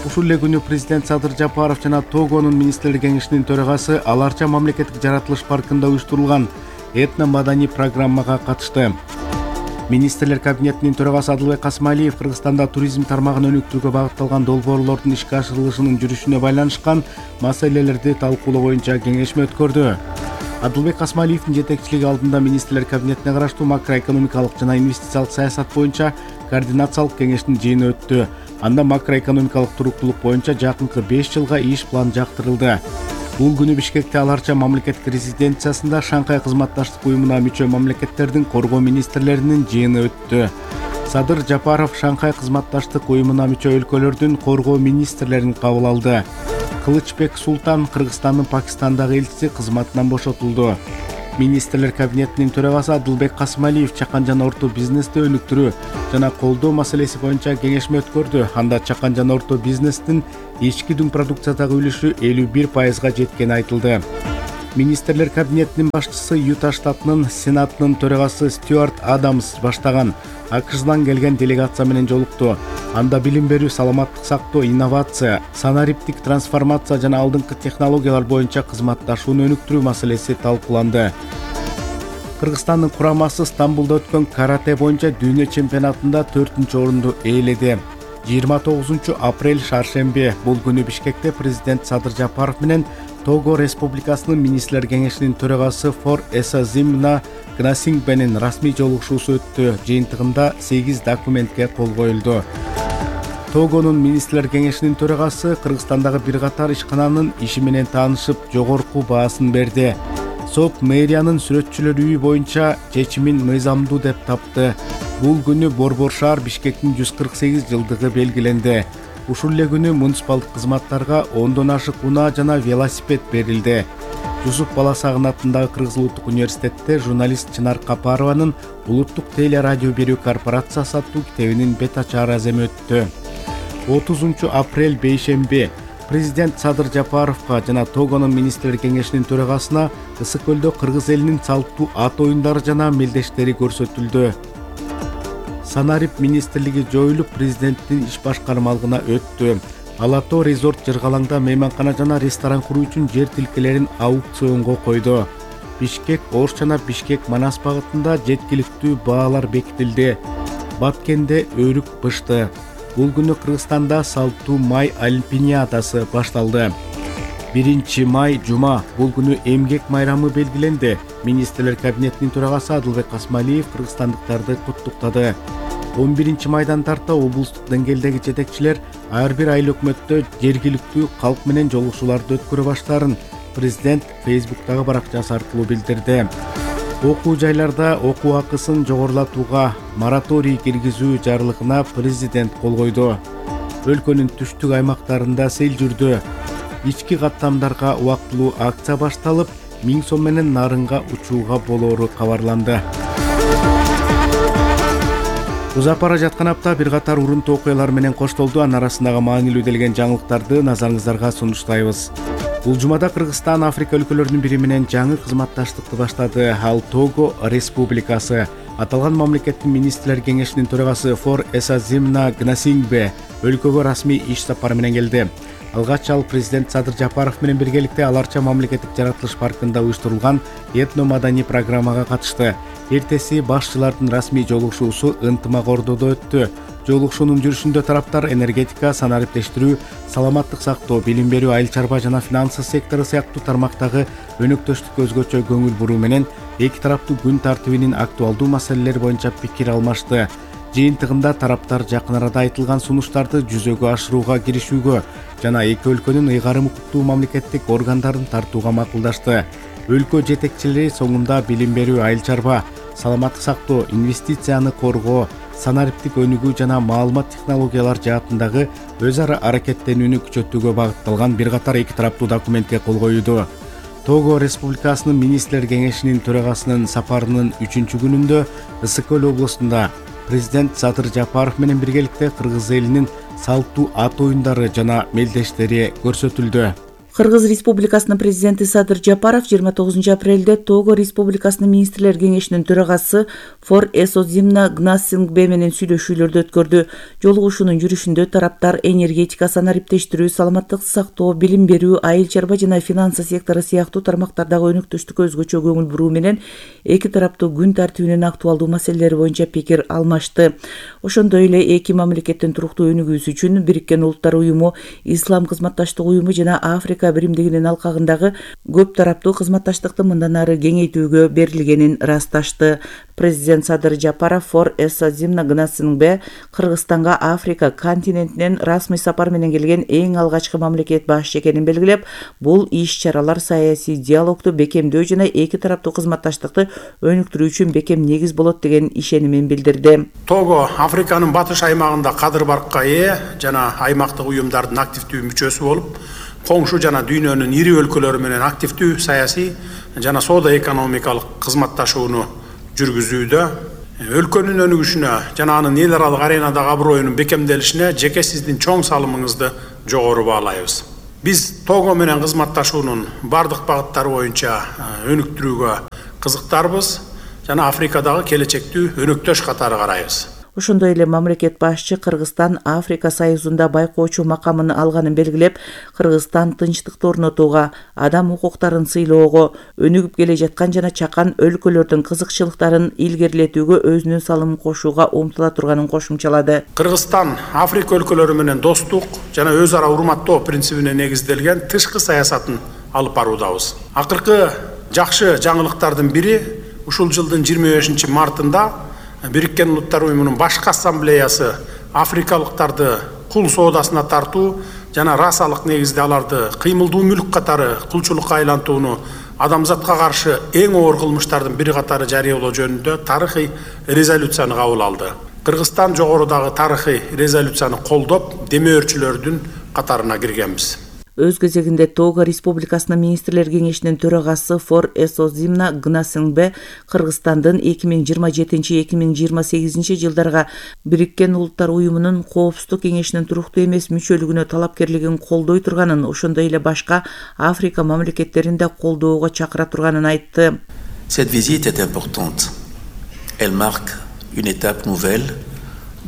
Ушул эле күнү президент Садыр Жапаров жана Тогонун министрлер кеңешинин төрагасы Аларча мамлекеттик жаратылыш паркында уюштурулган этно-маданий программага катышты. Министрлер кабинетинин төрагасы Адылбек Касмалиев Кыргызстанда туризм тармагын өнүктүрүүгө багытталган долбоорлордун ишке ашырылышынын жүрүшүнө байланышкан маселелерди талкуулоо боюнча кеңешме өткөрдү. Адылбек Касмалиевдин жетекчилиги алдында министрлер кабинетине караштуу макроэкономикалык жана инвестициялык саясат боюнча координациялык кеңештин жыйыны өттү. Анда макроэкономикалык туруктуулук боюнча жакынкы 5 жылга иш план жактырылды. Бул күнү Бишкекте Аларча мамлекеттик резиденциясында Шанхай кызматташтык уюмуна мүчө мамлекеттердин коргоо министрлеринин жыйыны өттү. Садыр Жапаров Шанхай кызматташтык уюмуна мүчө өлкөлөрдүн коргоо министрлерин кабыл алды. Кылычбек Султан Кыргызстандын Пакистандагы элчиси кызматынан бошотулду. Министрлер кабинетинин төрагасы Адылбек Касымалиев чакан жана орто бизнести өнүктүрүү жана колдоо маселеси боюнча кеңешме өткөрдү. Анда чакан жана орто бизнестин ички дүң продукциядагы үлүшү 51%га жеткени айтылды. Министрлер кабинетинин башчысы Юта штатынын Сенатынын төрагасы Стюарт Адамс баштаган АКШдан келген делегация менен жолукту. Анда билим берүү, саламаттык сактоо, инновация, санариптик трансформация жана алдыңкы технологиялар боюнча кызматташууну өнүктүрүү маселеси талкууланды. Кыргызстандын курамасы Стамбулда өткөн карате боюнча дүйнө чемпионатында 4-орунду ээледи. 29 апрель шаршемби бул күнү Бишкекте президент Садыр Жапаров менен Того Республикасынын министрлер кеңешинин төрагасы Фор Эсазимна Гнасингбенин расмий жолугушуусу өттү. Жыйынтыгында 8 документке кол коюлду. Тогонун министрлер кеңешинин төрагасы Кыргызстандагы бир катар ишкананын иши менен таанышып, жогорку баасын берди. СОК мэриянын сүрөтчүлөр үйү боюнча чечимин мыйзамдуу деп тапты. Бул күнү Борбор шаар Бишкектин 148 жылдыгы белгиленди. Ушул эле күнү муниципалдык кызматтарга 10дон ашык унаа жана велосипед берилди. Жусуп Баласагын атындагы Кыргыз Улуттук университетте журналист Чынар Капарованын Улуттук телерадио берүү корпорациясы аттуу китебинин бет ачар аземи өттү. 30 апрель бейшемби президент Садыр Жапаровго жана Тогонун министрлер кеңешинин төрагасына Ысык көлдө кыргыз элинин салттуу ат оюндары жана мелдештери көрсөтүлдү. Санарип министрлиги жоюлуп, президенттин иш башкармалыгына өттү. Алато резорт Жыргалаңда мейманкана жана ресторан куруу үчүн жер тилкелерин аукционго койду. Бишкек Ош жана Бишкек Манас багытында жеткиликтүү баалар бекитилди. Баткенде өрүк бышты. Бул күнү Кыргызстанда салттуу май олимпиадасы башталды. 1 май жума бул күнү эмгек майрамы белгиленди. Министрлер кабинетинин төрагасы Адылбек Касымалиев кыргызстандыктарды куттуктады. 11 майдан тарта облустук деңгээлдеги жетекчилер ар бир айыл өкмөттө жергиликтүү калк менен жолугушууларды өткөрө баштаарын президент Facebook'тагы баракчасы аркылуу билдирди. Окуу жайларда окуу акысын жогорулатууга мораторий киргизүү жарлыгына президент кол койду. Өлкөнүн түштүк аймактарында сел жүрдү. Ички каттамдарга убактылуу акция башталып, 1000 сом менен нарынга учууга болоору кабарланды. Узап бара жаткан апта бир катар урунтуу окуялар менен коштолду. Анын арасындагы маанилүү делген жаңылыктарды назарыңыздарга сунуштайбыз. Бул жумада Кыргызстан Африка өлкөлөрүнүн бири менен жаңы кызматташтыкты баштады. Ал Того Республикасы. Аталган мамлекеттин министрлер кеңешинин төрагасы Фор Эсазимна Гнасингбе өлкөгө расмий иш сапары менен келди. Алгач ал президент Садыр Жапаров менен биргеликте Аларча мамлекеттик жаратылыш паркында уюштурулган этно-маданий программага катышты. Эртеси башчылардын расмий жолугушуусу ынтымак ордодо өттү. Жолугушуунун жүрүшүндө тараптар энергетика, санариптештирүү, саламаттык сактоо, билим берүү, айыл чарба жана финансы сектору сыяктуу тармактагы өнөктөштүккө өзгөчө көңүл буруу менен эки тараптуу күн тартибинин актуалдуу маселелери боюнча пикир алмашты. Жыйынтыгында тараптар жакын арада айтылган сунуштарды жүзөгө ашырууга киришүүгө жана эки өлкөнүн ыйгарым укуктуу мамлекеттик органдарын тартууга макулдашты. Өлкө жетекчилери соңунда билим берүү, айыл чарба, саламаттык сактоо, инвестицияны коргоо, санариптик өнүгүү жана маалымат технологиялар жаатындагы өз ара аракеттенүүнү күчөтүүгө багытталган бир катар эки тараптуу документке кол коюлду. Того Республикасынын министрлер кеңешинин төрагасынын сапарынын 3-күнүндө Ысык көл облусунда президент Садыр Жапаров менен биргеликте кыргыз элинин салттуу ат оюндары жана мелдештери көрсөтүлдү. Кыргыз Республикасынын президенти Садыр Жапаров 29 апрелде Того Республикасынын министрлер кеңешинин төрагасы Фор Эсазимна Гнасингбе менен сүйлөшүүлөрдү өткөрдү. Жолугушуунун жүрүшүндө тараптар энергетика, санариптештирүү, саламаттык сактоо, билим берүү, айыл чарба жана финансы сектору сыяктуу тармактардагы өнөктөштүккө өзгөчө көңүл буруу менен эки тараптуу күн тартибинин актуалдуу маселелери боюнча пикир алмашты. Ошондой эле эки мамлекеттин туруктуу өнүгүүсү үчүн Бириккен Улуттар уюму, Ислам кызматташтык уюму жана Африка Африка биримдигинин алкагындагы көп тараптуу кызматташтыкты мындан ары кеңейтүүгө берилгенин ырасташты. Президент Садыр Жапаров For Esozimna ГНАСынын Кыргызстанга Африка континентинен расмый сапар менен келген эң алгачкы мамлекет башчы экенин белгилеп, бул иш-чаралар саясий диалогду бекемдөө жана эки тараптуу кызматташтыкты өнүктүрүү үчүн бекем негиз болот деген ишенимин билдирди. Того Африканын батыш аймагында кадыр баркка ээ жана аймактык уюмдардын активдүү мүчөсү болуп, коңшу жана дүйнөнүн ири өлкөлөрү менен активдүү саясий жана соода экономикалык кызматташууну жүргүзүүдө, өлкөнүн өнүгүшүнө жана анын эл аралык аренадагы аброюнун бекемделишине жеке сиздин чоң салымыңызды жогору баалайбыз. Биз Того менен кызматташуунун бардык багыттары боюнча өнүктүрүүгө кызыктарбыз жана Африкадагы келечектүү өнөктөш катары карайбыз. Ошондой эле мамлекет башчы Кыргызстан Африка Союзунда байкоочу макамын алганын белгилеп, Кыргызстан тынчтыкты орнотууга, адам укуктарын сыйлоого, өнүгүп келе жаткан жана чакан өлкөлөрдүн кызыкчылыктарын илгерилетүүгө өзүнүн салымын кошууга умтула турганын кошумчалады. Кыргызстан Африка өлкөлөрү менен достук жана өз ара урматтоо принцибине негизделген тышкы саясатын алып баруудабыз. Акыркы жакшы жаңылыктардын бири ушул жылдын 25 мартында Бириккен Улуттар уюмунун башкы ассамблеясы африкалыктарды кул соодасына тартуу жана расалык негизде аларды кыймылдуу мүлк катары кулчулукка айлантууну адамзатка каршы эң оор кылмыштардын бири катары жарыялоо жөнүндө тарыхый резолюцияны кабыл алды. Кыргызстан жогорудагы тарыхый резолюцияны колдоп, демөөрчүлөрдүн катарына киргенбиз. Өз кезегинде Того Республикасынын министрлер кеңешинин төрагасы For Esozimna ГНАСынын Кыргызстандын 2027-2028 жылдарга Бириккен Улуттар уюмунун Коопсуздук кеңешинин туруктуу эмес мүчөлүгүнө талапкерлигин колдой турганын, ошондой эле башка Африка мамлекеттерин да колдоого чакыра турганын айтты. Cette visite est importante. Elle marque une étape nouvelle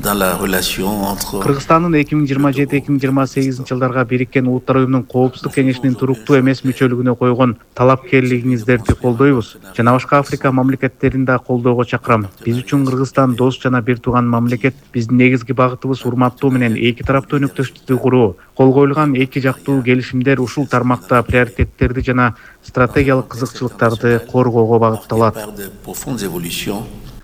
dans la relation entre Кыргызстандын 2027-2028 жылдарга Бириккен Улуттар уюмунун Коопсуздук кеңешинин туруктуу эмес мүчөлүгүнө койгон талапкерлигиңиздерди колдойбуз жана башка Африка мамлекеттерин да колдоого чакырам. Биз үчүн Кыргызстан дос жана бир тууган мамлекет. Биздин негизги багытыбыз урматтоо менен эки тараптуу өнөктөштүктү куруу. Кол коюлган эки жактуу келишимдер ушул тармакта приоритеттерди жана стратегиялык кызыкчылыктарды коргоого багытталат.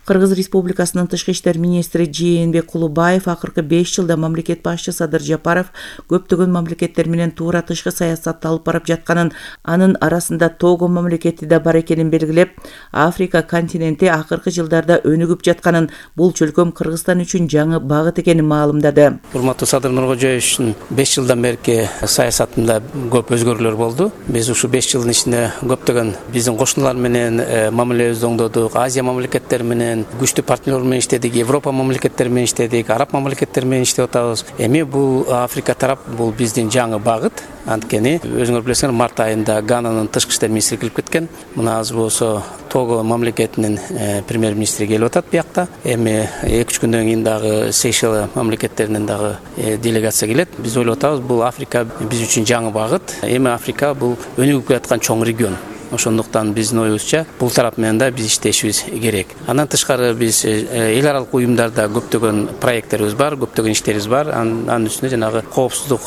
Кыргыз Республикасынын тышкы иштер министри Жээнбек Кулубаев акыркы 5 жылда мамлекет башчы Садыр Жапаров көптөгөн мамлекеттер менен туура тышкы саясатты алып барып жатканын, анын арасында Того мамлекети да бар экенин белгилеп, Африка континенти акыркы жылдарда өнүгүп жатканын, бул чөлкөм Кыргызстан үчүн жаңы багыт экенин маалымдады. Урматтуу Садыр Нуркожоевичтин 5 жылдан берки саясатында көп өзгөрүүлөр болду. Биз ушу 5 жылдын ичинде көптөгөн биздин кошуналар менен мамилебизди оңдодук, Азия мамлекеттери менен күчтүү партнер менен иштедик, Европа мамлекеттери менен иштедик, Араб мамлекеттери менен иштеп атабыз. Эми бул Африка тарап бул биздин жаңы багыт. Анткени өзүңөр билесиңер, март айында Гананын тышкы иштер министри келип кеткен. Мына азыр болсо Того мамлекетинин премьер-министри келип атат биякта. Эми 2-3 күндөн кийин дагы Сейшел мамлекеттеринен дагы делегация келет. Биз ойлоп атабыз, бул Африка биз үчүн жаңы багыт. Эми Африка бул өнүгүп келаткан чоң регион. Ошондуктан биздин оюбузча бул тарап менен да биз иштешибиз керек. Андан тышкары биз эл аралык уюмдарда көптөгөн проекттерибиз бар, көптөгөн иштерибиз бар. Анын үстүнө жанагы коопсуздук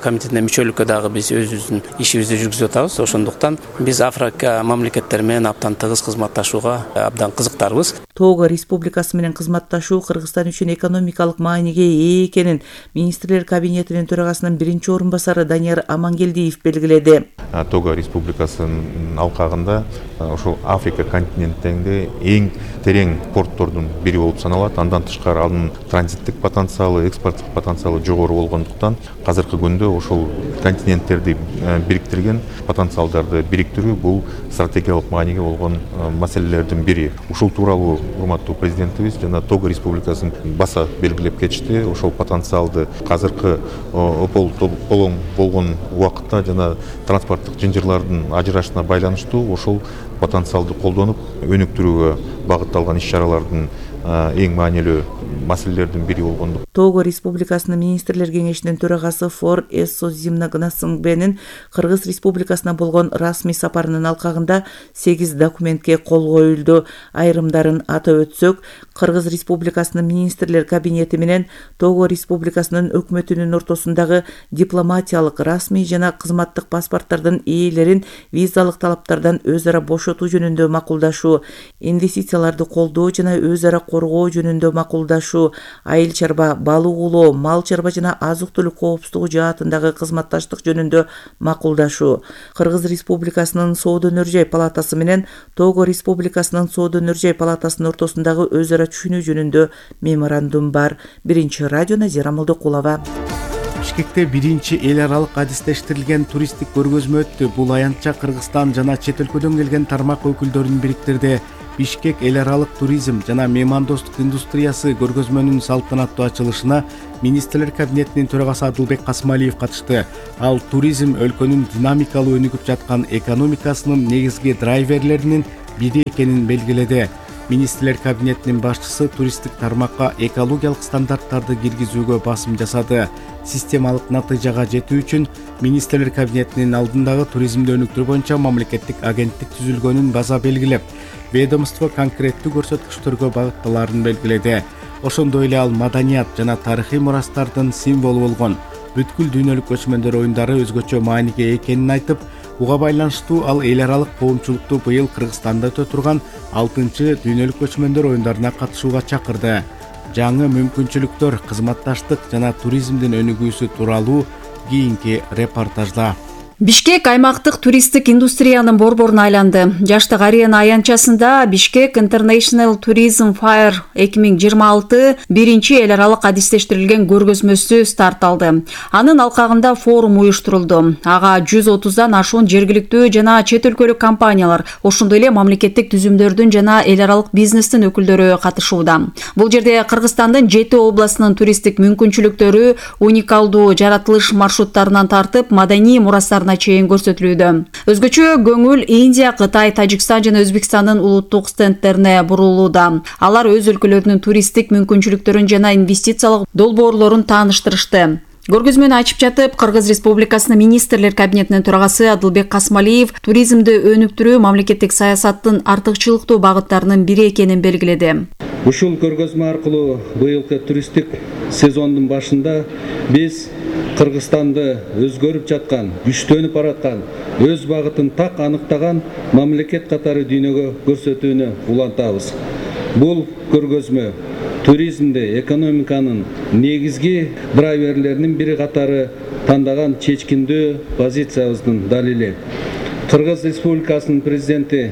комитетине мүчөлүккө дагы биз өзүбүздүн ишибизди жүргүзүп атабыз. Ошондуктан биз Африка мамлекеттери менен абдан тыгыз кызматташууга абдан кызыктарбыз. Того Республикасы менен кызматташуу Кыргызстан үчүн экономикалык мааниге ээ экенин министрлер кабинетинин төрагасынын биринчи орун басары Данияр Амангелдиев белгиледи. Того Республикасынын алкагында ошол Африка континентинде эң терең порттордун бири болуп саналат. Андан тышкары анын транзиттик потенциалы, экспорттук потенциалы жогору болгондуктан азыркы күндө ошол континенттерди бириктирген потенциалдарды бириктирүү бул стратегиялык мааниге болгон маселелердин бири. Ушул тууралуу урматтуу президентибиз жана Того Республикасын баса белгилеп кетишти. Ошол потенциалды азыркы ополоң болгон убакытта жана транспорттук жынжырлардын ажырашына байланыштуу ошол потенциалды колдонуп өнүктүрүүгө багытталган иш-чаралардын эң маанилүү маселелердин бири болгондук. Того Республикасынын министрлер кеңешинин төрагасы Фор Эссозимна Гнасымбенин Кыргыз Республикасына болгон расмий сапарынын алкагында 8 документке кол коюлду. Айрымдарын атап өтсөк, Кыргыз Республикасынын министрлер кабинети менен Того Республикасынын өкмөтүнүн ортосундагы дипломатиялык, расмий жана кызматтык паспорттардын ээлерин визалык талаптардан өз ара бошотуу жөнүндө макулдашуу, инвестицияларды колдоо жана өз ара коргоо жөнүндө макулдашуу, айыл чарба, балык улоо, мал чарба жана азык-түлүк коопсуздугу жаатындагы кызматташтык жөнүндө макулдашуу, Кыргыз Республикасынын Соода өнөр жай палатасы менен Того Республикасынын Соода өнөр жай палатасынын ортосундагы өз ара түшүнүү жөнүндө меморандум бар. Биринчи радио Назира Молдокулова. Бишкекте биринчи эл аралык адистештирилген туристтик көргөзмө өттү. Бул аянтча Кыргызстан жана чет өлкөдөн келген тармак өкүлдөрүн бириктирди. Бишкек эл аралык туризм жана меймандостук индустриясы көргөзмөнүн салтанаттуу ачылышына министрлер кабинетинин төрагасы Адылбек Касмалиев катышты. Ал туризм өлкөнүн динамикалуу өнүгүп жаткан экономикасынын негизги драйверлеринин бири экенин белгиледи. Министрлер кабинетинин башчысы туристтик тармакка экологиялык стандарттарды киргизүүгө басым жасады. Системалык натыйжага жетүү үчүн министрлер кабинетинин алдындагы туризмди өнүктүрүү боюнча мамлекеттик агенттик түзүлгөнүн база белгилеп, ведомство конкреттүү көрсөткүчтөргө багытталарын белгиледи. Ошондой эле ал маданият жана тарыхый мурастардын символу болгон бүткүл дүйнөлүк көчмөндөр оюндары өзгөчө мааниге экенин айтып, буга байланыштуу ал эл аралык коомчулукту быйыл Кыргызстанда өтө турган 6-чы дүйнөлүк көчмөндөр оюндарына катышууга чакырды. Жаңы мүмкүнчүлүктөр, кызматташтык жана туризмдин өнүгүүсү тууралуу кийинки репортажда. Бишкек аймактык туристтик индустриянын борборуна айланды. Жаштык арена аянтчасында Бишкек International Tourism Fair 2026 биринчи эл аралык адистештирилген көргөзмөсү старт алды. Анын алкагында форум уюштурулду. Ага 130дан ашуун жергиликтүү жана чет өлкөлүк компаниялар, ошондой эле мамлекеттик түзүмдөрдүн жана эл аралык бизнестин өкүлдөрү катышууда. Бул жерде Кыргызстандын 7 областынын туристтик мүмкүнчүлүктөрү уникалдуу жаратылыш маршруттарынан тартып маданий мурастар чейин көрсөтүлүүдө. Өзгөчө көңүл Индия, Кытай, Тажикстан жана Өзбекстандын улуттук стендтерине бурулууда. Алар өз өлкөлөрүнүн туристтик мүмкүнчүлүктөрүн жана инвестициялык долбоорлорун тааныштырышты. Көргөзмөнү ачып жатып, Кыргыз Республикасынын министрлер кабинетинин төрагасы Адылбек Касмалиев туризмди өнүктүрүү мамлекеттик саясаттын артыкчылыктуу багыттарынын бири экенин белгиледи. Ушул көргөзмө аркылуу быйылкы туристтик сезондун башында биз Кыргызстанды өзгөрүп жаткан, күчтөнүп бараткан, өз багытын так аныктаган мамлекет катары дүйнөгө көрсөтүүнү улантабыз. Бул көргөзмө туризмди экономиканын негизги драйверлеринин бири катары тандаган чечкиндүү позициябыздын далили. Кыргыз Республикасынын президенти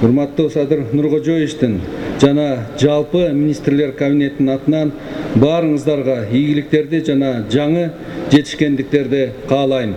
урматтуу Садыр Нуркожоевичтин жана жалпы министрлер кабинетинин атынан баарыңыздарга ийгиликтерди жана жаңы жетишкендиктерди каалайм.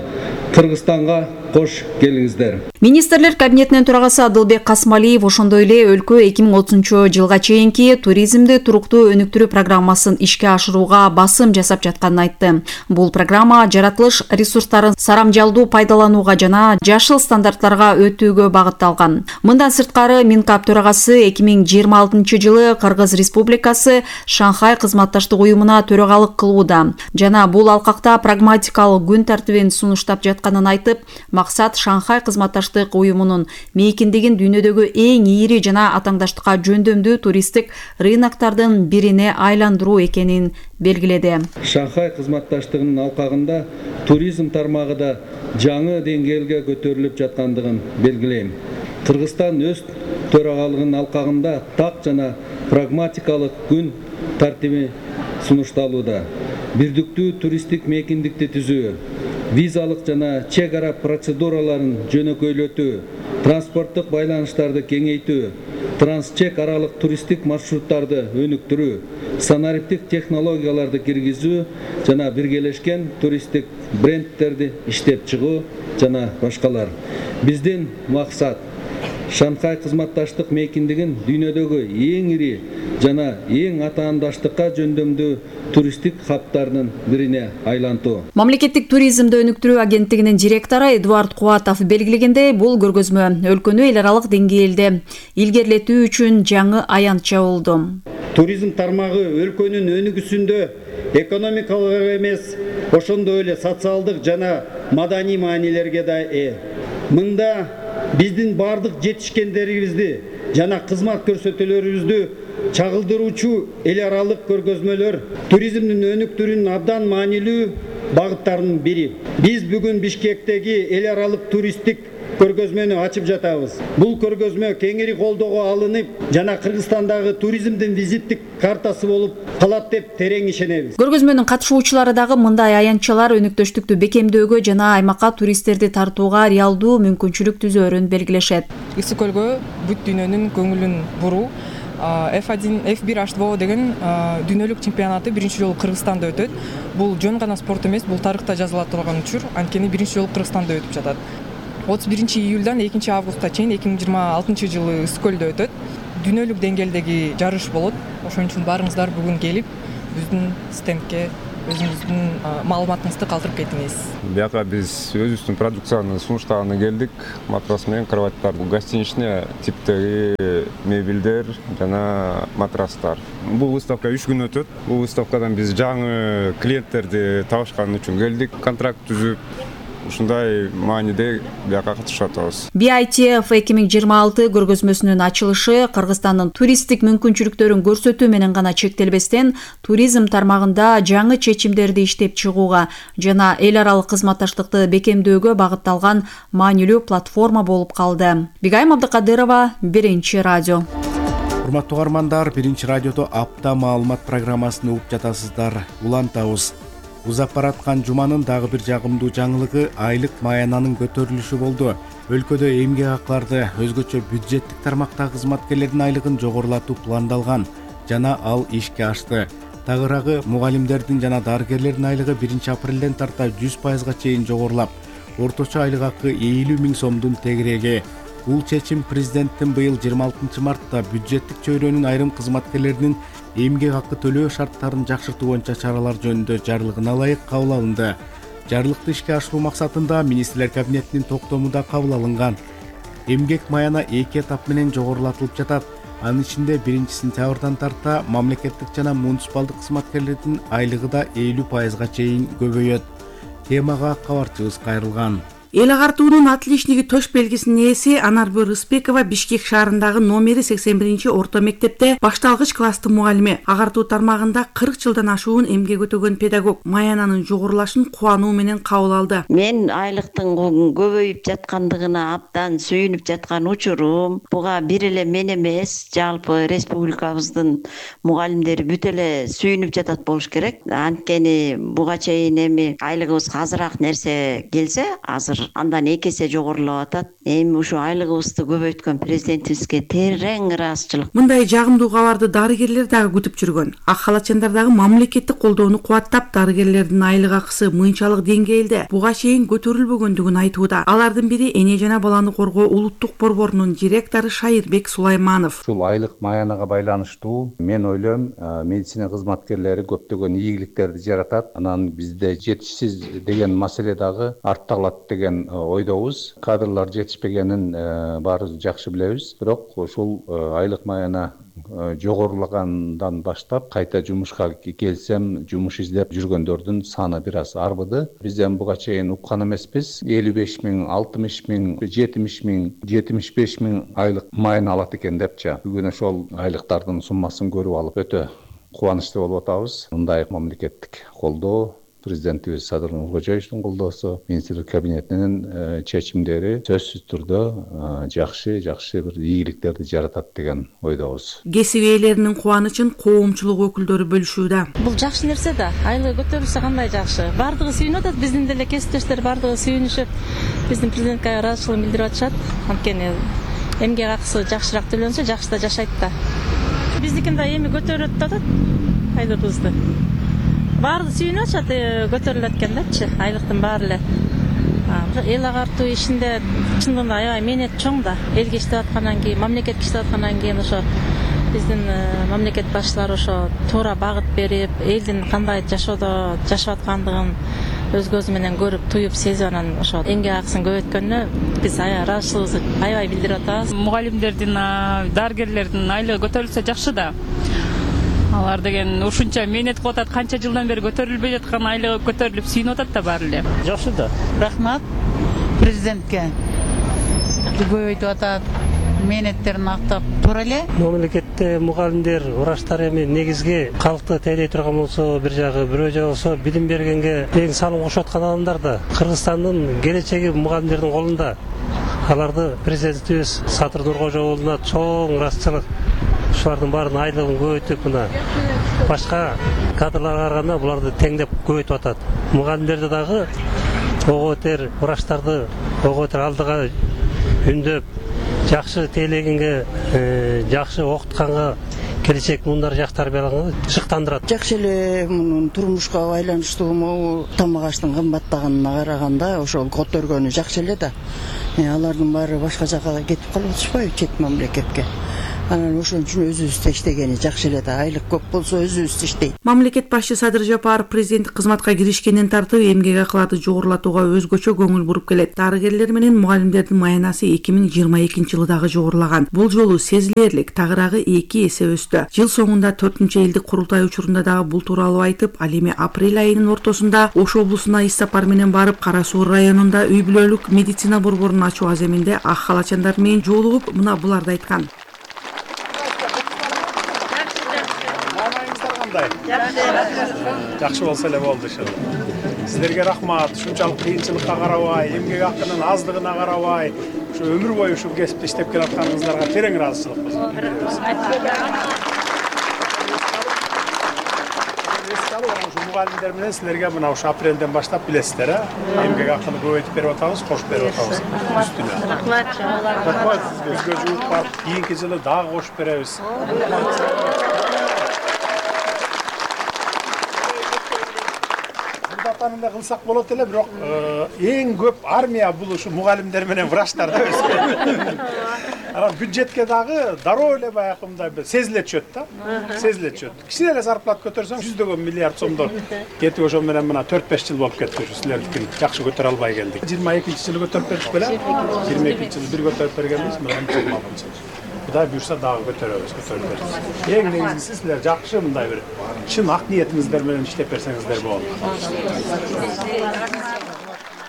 Кыргызстанга кош келиңиздер. Министрлер кабинетинин төрагасы Адылбек Касмалиев ошондой эле өлкө 2030 жылга чейинки туризмди туруктуу өнүктүрүү программасын ишке ашырууга басым жасап жатканын айтты. Бул программа жаратылыш ресурстарын сарамжалдуу пайдаланууга жана жашыл стандарттарга өтүүгө багытталган. Мындан сырткары Минкап төрагасы 2026 жылы Кыргыз Республикасы Шанхай кызматташтык уюмуна төрагалык кылууда жана бул алкакта прагматикалык күн тартибин сунуштап жатканын айтып, максат Шанхай кызматташтык уюмунун мейкиндигин дүйнөдөгү эң ийри жана атаңдаштыкка жөндөмдүү туристтик рыноктардын бирине айландыруу экенин белгиледи. Шанхай кызматташтыгынын алкагында туризм тармагы да жаңы деңгээлге көтөрүлүп жаткандыгын белгилейм. Кыргызстан өз төрагалыгынын алкагында так жана прагматикалык күн тартиби сунушталууда. Бирдиктүү туристтик мейкиндикти түзүү, визалык жана чек ара процедураларын жөнөкөйлөтүү, транспорттук байланыштарды кеңейтүү, трансчек аралык туристтик маршруттарды өнүктүрүү, санариптик технологияларды киргизүү жана биргелешкен туристтик брендтерди иштеп чыгуу жана башкалар. Биздин максат Шанхай кызматташтык мейкиндигин дүйнөдөгү эң ири жана эң атаандаштыкка жөндөмдүү туристтик хабтардын бирине айлантуу. Мамлекеттик туризмди өнүктүрүү агенттигинин директору Эдуард Куатов белгилегендей, бул көргөзмө өлкөнү эл аралык деңгээлде илгерилетүү үчүн жаңы аянтча болду. Туризм тармагы өлкөнүн өнүгүүсүндө экономикалык эмес, ошондой эле социалдык жана маданий маанилерге да ээ. Мында биздин бардык жетишкендерибизди жана кызмат көрсөтүүлөрүбүздү чагылдыруучу эл аралык көргөзмөлөр туризмдин өнүктүрүүнүн абдан маанилүү багыттарынын бири. Биз бүгүн Бишкектеги эл аралык туристтик көргөзмөнү ачып жатабыз. Бул көргөзмө кеңири колдоого алынып, жана Кыргызстандагы туризмдин визиттик картасы болуп калат деп терең ишенебиз. Көргөзмөнүн катышуучулары дагы мындай аянтчалар өнөктөштүктү бекемдөөгө жана аймакка туристтерди тартууга реалдуу мүмкүнчүлүк түзөөрүн белгилешет. Ысык көлгө бүт дүйнөнүн көңүлүн буруу F1 H2O деген дүйнөлүк чемпионаты биринчи жолу Кыргызстанда өтөт. Бул жөн гана спорт эмес, бул тарыхта жазыла турган учур. Анткени биринчи жолу Кыргызстанда өтүп жатат. 31 июлдан 2 августка чейин 2026 жылы Ысык көлдө өтөт. Дүйнөлүк деңгээлдеги жарыш болот. Ошон үчүн барыңыздар бүгүн келип, биздин стендке өзүңүздүн маалыматыңызды калтырып кетиңиз. Бияка биз өзүбүздүн продукцияны сунуштаганы келдик. Матрас менен кроваттар, гостиничный типтеги мебелдер жана матрастар. Бул выставка 3 күн өтөт. Бул выставкадан биз жаңы клиенттерди табышкан үчүн келдик. Контракт түзүп, ушундай мааниде бияка катышып атабыз. BITF 2026 көргөзмөсүнүн ачылышы Кыргызстандын туристтик мүмкүнчүлүктөрүн көрсөтүү менен гана чектелбестен, туризм тармагында жаңы чечимдерди иштеп чыгууга жана эл аралык кызматташтыкты бекемдөөгө багытталган маанилүү платформа болуп калды. Бигайым Абдыкадырова, Биринчи радио. Урматтуу угармандар, Биринчи радиодо апта маалымат программасын угуп жатасыздар. Улантабыз. Узап бараткан жуманын дагы бир жагымдуу жаңылыгы айлык маянанын көтөрүлүшү болду. Өлкөдө эмгек акларды, өзгөчө бюджеттик тармактагы кызматкерлердин айлыгын жогорулатуу пландалган жана ал ишке ашты. Тагыраагы мугалимдердин жана дарыгерлердин айлыгы 1 апрелден тарта 100%га чейин жогорулап, орточо айлык акы 50 000 сомдун тегереги. Бул чечим президенттин быйыл 26 мартта бюджеттик чөйрөнүн айрым кызматкерлеринин эмгек акы төлөө шарттарын жакшыртуу боюнча чаралар жөнүндө жарлыгына ылайык кабыл алынды. Жарлыкты ишке ашыруу максатында министрлер кабинетинин токтомунда кабыл алынган. Эмгек маяна 2 этап менен жогорулатылып жатат. Анын ичинде 1 сентябрдан тарта мамлекеттик жана муниципалдык кызматкерлердин айлыгы да 50%га чейин көбөйөт. Темага кабарчыбыз кайрылган. Эл агартуунун отличниги төш белгисинин ээси Анарбү Рыспекова Бишкек шаарындагы номери 81 орто мектепте башталгыч класстын мугалими. Агартуу тармагында 40 жылдан ашуун эмгек өтөгөн педагог маянанын жогорулашын кубануу менен кабыл алды. Мен айлыктын көбөйүп жаткандыгына абдан сүйүнүп жаткан учурум. Буга бир эле мен эмес, жалпы республикабыздын мугалимдери бүт эле сүйүнүп жатат болуш керек. Анткени буга чейин эми айлыгыбызга азыраак нерсе келсе, азыр андан 2 эсе жогорулап атат. Эми ушу айлыгыбызды көбөйткөн президентибизге терең ыраазычылык. Мындай жагымдуу кабарды дарыгерлер дагы күтүп жүргөн. Ак халатчандар дагы мамлекеттик колдоону кубаттап, дарыгерлердин айлык акысы мыйынчалык деңгээлде буга чейин көтөрүлбөгөндүгүн айтууда. Алардын бири эне жана баланы коргоо улуттук борборунун директору Шайырбек Сулайманов. Ушул айлык маянага байланыштуу мен ойлойм, медицина кызматкерлери көптөгөн ийгиликтерди жаратат. Анан бизде жетишсиз деген маселе дагы артта калат деген ойдобуз. Кадрлар жетишпегенин баарыбыз жакшы билебиз. Бирок ушул айлык маяна жогорулагандан баштап кайта жумушка келсем, жумуш издеп жүргөндөрдүн саны бир аз арбыды. Бизден буга чейин уккан эмеспиз. 55 000, 60 000, 70 000, 75 000 айлык маяна алат экен депчи. Бүгүн ошол айлыктардын суммасын көрүп алып өтө кубанычтуу болуп атабыз. Мындай мамлекеттик колдоо, президентибиз Садыр Нуркожоевичтин колдоосу, министрлик кабинетинин чечимдери сөзсүз түрдө жакшы бир ийгиликтерди жаратат деген ойдобуз. Кесип ээлеринин кубанычын коомчулук өкүлдөрү бөлүшүүдө. Бул жакшы нерсе да, айлыгы көтөрүлсө кандай жакшы. Бардыгы сүйүнүп атат, биздин деле кесиптештер бардыгы сүйүнүшүп, биздин президентке ыраазычылыгын билдирип атышат. Анткени эмгек акысы жакшыраак төлөнсө, жакшы да жашайт да. Биздикин да эми көтөрүп атат айлыгыбызды. Баары сүйүнүп атышат, көтөрүлөт экен депчи, айлыктын баары эле. Эл агартуу ишинде чындыгында аябай мээнет чоң да. Элге иштеп аткандан кийин, мамлекетке иштеп аткандан кийин ошо биздин мамлекет башчылары ошо туура багыт берип, элдин кандай жашоодо жашап аткандыгын өз көзү менен көрүп, туюп, сезип, анан ошо эмгек акысын көбөйткөнүнө биз ыраазычылыгыбызды аябай билдирип атабыз. Мугалимдердин, дарыгерлердин айлыгы көтөрүлсө жакшы да. Алар деген ушунча мээнет кылып атат, канча жылдан бери көтөрүлбөй жаткан айлыгы көтөрүлүп сүйүнүп атат да баары эле. Жакшы да. Рахмат президентке. Көбөйтүп атат, мээнеттерин актап туура эле. Мамлекетте мугалимдер, врачтар эми негизги калкты тейлей турган болсо, бир жагы, бирөө жагы болсо билим бергенге эң салым кошуп аткан адамдар да. Кыргызстандын келечеги мугалимдердин колунда. Аларды президентибиз Садыр Нуркожоğlu'на чоң ыраазычылык. Ушулардын баарын айлыгын көбөйтүп, мына башка кадрларга караганда буларды теңдеп көбөйтүп атат. Мугалимдерди дагы ого бетер, врачтарды ого бетер алдыга үндөп, жакшы тейлегенге, жакшы окутканга, келечек мундар жакшы тарбияланганга шыктандырат. Жакшы эле мунун турмушка байланыштуу могу тамак аштын кымбаттаганына караганда ошол көтөргөнү жакшы эле да. Алардын баары башка жака кетип калып атышпайбы, чет мамлекетке. Анан ошон үчүн өзүбүздө иштегени жакшы эле да. Айлык көп болсо өзүбүз иштейт. Мамлекет башчы Садыр Жапаров президенттик кызматка киришкенден тартып эмгек акыларды жогорулатууга өзгөчө көңүл буруп келет. Дарыгерлер менен мугалимдердин маянасы 2022 жылы дагы жогорулаган. Бул жолу сезилерлик тагыраагы 2 эсе өстү. Жыл соңунда 4-элдик курултай учурунда дагы бул тууралуу айтып, ал эми апрель айынын ортосунда Ош облусуна иш сапар менен барып, Кара Суу районунда үй бүлөлүк медицина борборун ачуу аземинде ак халачандар менен жолугуп, мына буларды айткан. Жакшы болсо эле болду ошол. Сиздерге рахмат. Ушунчалык кыйынчылыкка карабай, эмгек акынын аздыгына карабай, ушу өмүр бою ушул кесипте иштеп келатканыңыздарга терең ыраазычылык билдиребиз. Мугалимдер менен силерге мына ушу апрелден баштап билесиздер, эмгек акыны көбөйтүп берип атабыз, кошуп берип атабыз үстүнө. Рахмат. Өзгө жууп барып, кийинки жылы дагы кошуп беребиз. Атанында кылсак болот эле, бирок эң көп армия бул ушу мугалимдер менен врачтар да өзү. Анан бюджетке дагы дароо эле баягы мындай сезиле түшөт да. Сезиле түшөт. Кичине эле зарплата көтөрсөң 100 миллиард сомдор кетип, ошол менен мына 4-5 жыл болуп кетти ушу силердикин жакшы көтөрө албай келдик. 22-жылы көтөрүп бердик беле? 22-жылы бир көтөрүп бергенбиз, мына 26-жылы. Кудай буюрса дагы көтөрөбүз, көтөрүп беребиз. Эң негизгиси силер жакшы мындай бир чын ак ниетиңиздер менен иштеп берсеңиздер болот.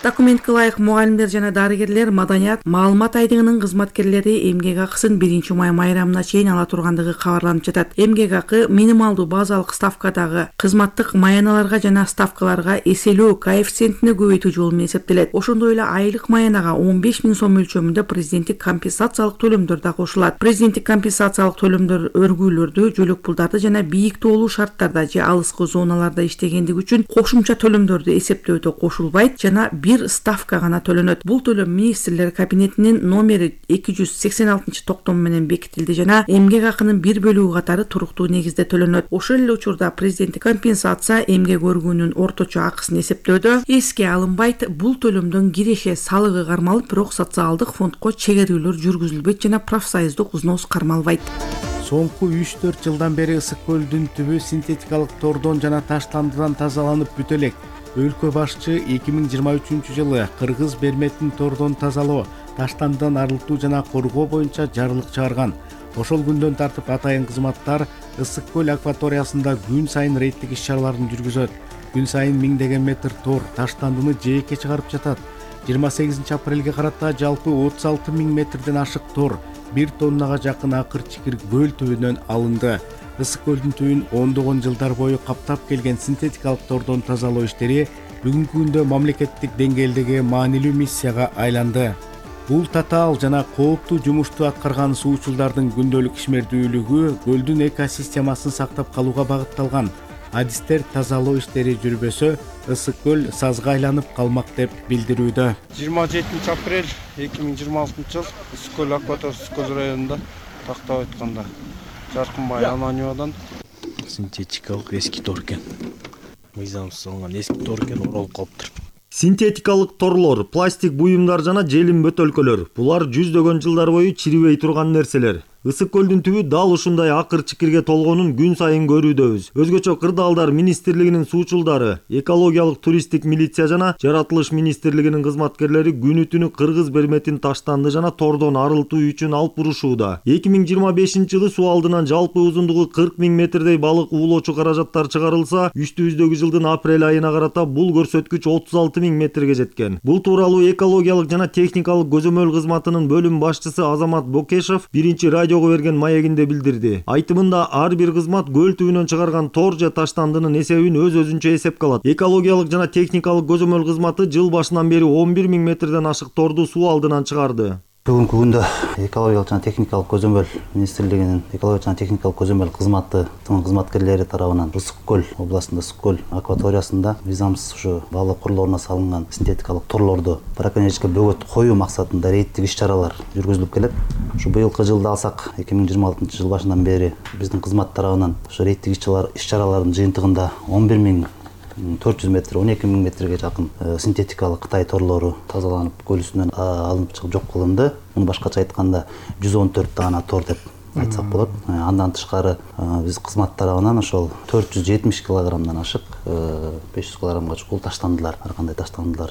Документке ылайык мугалимдер жана дарыгерлер маданият маалымат айдыгынын кызматкерлери эмгек акысын 1-май майрамына чейин ала тургандыгы кабарланып жатат. Эмгек акы минималдуу базалык ставкадагы кызматтык маяналарга жана ставкаларга эселөө коэффициентине көбөйтүү жолу менен эсептелет. Ошондой эле айлык маянага 15 000 сом өлчөмүндө президенттик компенсациялык төлөмдөр да кошулат. Президенттик компенсациялык төлөмдөр өргүүлөрдү, жөлөк пулдарды жана бийик тоолуу шарттарда же алыскы зоналарда иштегендиги үчүн кошумча төлөмдөрдү эсептөөдө кошулбайт жана бир ставка гана төлөнөт. Бул төлөм министрлер кабинетинин номери 286-токтому менен бекитилди жана эмгек акынын бир бөлүгү катары туруктуу негизде төлөнөт. Ошол эле учурда президенттик компенсация эмгек өргүүнүн орточо акысын эсептөөдө эске алынбайт. Бул төлөмдөн киреше салыгы кармалып, бирок социалдык фондко чегерүүлөр жүргүзүлбөйт жана профсоюздук взнос кармалбайт. Соңку 3-4 жылдан бери Ысык көлдүн түбү синтетикалык тордон жана таштандыдан тазаланып бүтө элек. Өлкө башчы 2023 жылы кыргыз берметин тордон тазалоо, таштандыдан арылтуу жана коргоо боюнча жарлык чыгарган. Ошол күндөн тартып атайын кызматтар Ысык көл акваториясында күн сайын рейдтик иш-чараларын жүргүзөт. Күн сайын миңдеген метр тор таштандыны жээкке чыгарып жатат. 28 апрелге карата жалпы 36 000 метрден ашык тор 1 тоннага жакын акыр чикир көл түбүнөн алынды. Ысык көлдүн түбүн ондогон жылдар бою каптап келген синтетикалык тордон тазалоо иштери бүгүнкү күндө мамлекеттик деңгээлдеги маанилүү миссияга айланды. Бул татаал жана кооптуу жумушту аткарган суучулдардын күндөлүк ишмердүүлүгү көлдүн экосистемасын сактап калууга багытталган. Адистер тазалоо иштери жүрбөсө, Ысык көл сазга айланып калмак деп билдирүүдө. 27 апрель 2026 жыл Ысык көл акваториясы Ысык көл районунда тактап айтканда Жаркынбай Ананьевадан синтетикалык эски тор экен. Мыйзамсыз алынган эски тор экен, оролуп калыптыр. Синтетикалык торлор, пластик буюмдар жана желим бөтөлкөлөр. Булар жүздөгөн жылдар бою чирибей турган нерселер. Ысык көлдүн түбү дал ушундай акыр чикирге толгонун күн сайын көрүүдөбүз. Өзгөчө Кырдаалдар министрлигинин суучулдары, экологиялык туристтик милиция жана жаратылыш министрлигинин кызматкерлери күнү-түнү кыргыз берметин таштанды жана тордон арылтуу үчүн алып урушууда. 2025-жылы суу алдынан жалпы узундугу 40 000 метрдей балык уулоочу каражаттар чыгарылса, үстүбүздөгү жылдын апрель айына карата бул көрсөткүч 36 000 метрге жеткен. Бул тууралуу экологиялык жана техникалык көзөмөл кызматынын бөлүм башчысы Азамат Бокешев биринчи радиого берген маегинде билдирди. Айтымында ар бир кызмат көл түбүнөн чыгарган тор же таштандынын эсебин өз-өзүнчө эсепке алат. Экологиялык жана техникалык көзөмөл кызматы жыл башынан бери 11 000 метрден ашык торду суу алдынан чыгарды. Бүгүнкү күндө экологиялык жана техникалык көзөмөл министрлигинин экологиялык жана техникалык көзөмөл кызматынын кызматкерлери тарабынан Ысык көл областында, Ысык көл акваториясында мыйзамсыз ушу балык курларына салынган синтетикалык торлорду браконьерликке бөгөт коюу максатында рейдтик иш-чаралар жүргүзүлүп келет. Ушу быйылкы жылды алсак, 2026 жыл башынан бери биздин кызмат тарабынан ушу рейдтик иш-чаралардын жыйынтыгында 11 400 метр, 12 000 метрге жакын синтетикалык Кытай торлору тазаланып, көл үстүнөн алынып чыгып жок кылынды. Муну башкача айтканда 114 даана тор деп айтсак болот. Андан тышкары биз кызмат тарабынан ошол 470 килограммдан ашык 500 килограммга чукул таштандылар, ар кандай таштандылар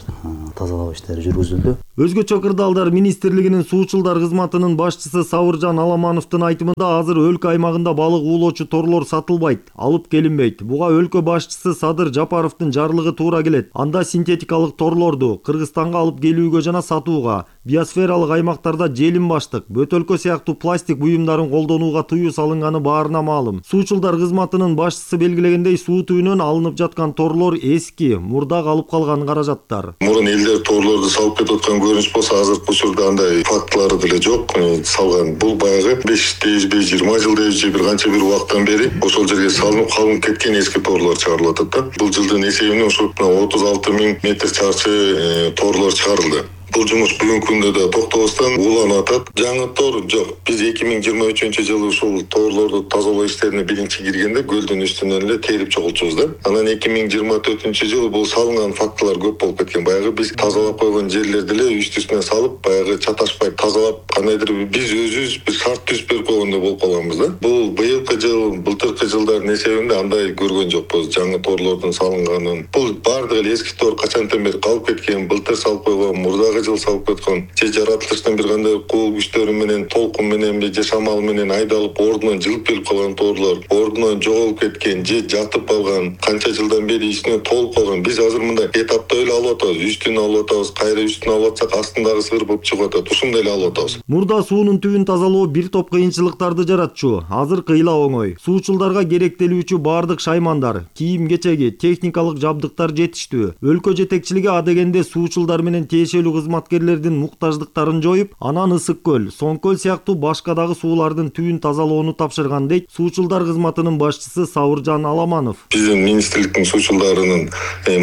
тазалоо иштери жүргүзүлдү. Өзгөчө Кырдаалдар министрлигинин суучулдар кызматынын башчысы Сабыржан Аламановдун айтымында азыр өлкө аймагында балык уулоочу торлор сатылбайт, алып келинбейт. Буга өлкө башчысы Садыр Жапаровдун жарлыгы туура келет. Анда синтетикалык торлорду Кыргызстанга алып келүүгө жана сатууга, биосфералык аймактарда желим баштык, бөтөлкө сыяктуу пластик буюмдарын колдонууга тыюу салынганы баарына маалым. Суучулдар кызматынын башчысы белгилегендей, суу түбүнөн алынып жаткан торлор эски, мурда калып калган каражаттар. Мурун элдер торлорду салып кетип аткан көрүнүш болсо, азыркы учурда андай фактылары деле жок. Салган бул баягы 5-20 жылдай же бир канча бир убакыттан бери ошол жерге салынып калып кеткен эски торлор чыгарылып атат да. Бул жылдын эсебинен ушу 36 000 метр чарчы торлор чыгарылды. Бул жумуш бүгүнкү күндө да токтобостон уланып атат. Жаңы тор жок. Биз 2023-жылы ушул торлорду тазалоо иштерине биринчи киргенде көлдүн үстүнөн эле терип чогулчубуз да. Анан 2024-жылы бул салынган фактылар көп болуп кеткен. Баягы биз тазалап койгон жерлерди эле үстүнө салып, баягы чаташпай тазалап, кандайдыр биз өзүбүз бир шарт түзүп берип койгондой болуп калганбыз да. Бул быйылкы жыл, былтыркы жылдардын эсебинде андай көргөн жокпуз. Жаңы торлордун салынганын. Бул бардыгы эле эски тор качантан бери калып кеткен, былтыр салып койгон, мурдагы жыл салып кеткен, же жаратылыштын бир кандай кул күчтөрү менен, толкун менен, же шамал менен айдалып ордунан жылып келип калган торлор, ордунан жоголуп кеткен, же жатып калган, канча жылдан бери ичине толуп калган. Биз азыр мындай этапта эле алып атабыз, үстүн алып атабыз, кайра үстүн алып атсак астындагы сырбып чыгып атат. Ушундай эле алып атабыз. Мурда суунун түбүн тазалоо бир топ кыйынчылыктарды жаратчу, азыр кыйла оңой. Суучулдарга керектелүүчү бардык шаймандар, кийим-кечеги, техникалык жабдыктар жетиштүү. Өлкө жетекчилиги адегенде суучулдар менен тиешелүү кызматкерлердин муктаждыктарын жоюп, анан Ысык көл, Соң көл сыяктуу башка дагы суулардын түбүн тазалоону тапшырган дейт суучулдар кызматынын башчысы Сабыржан Аламанов. Биздин министрликтин суучулдарынын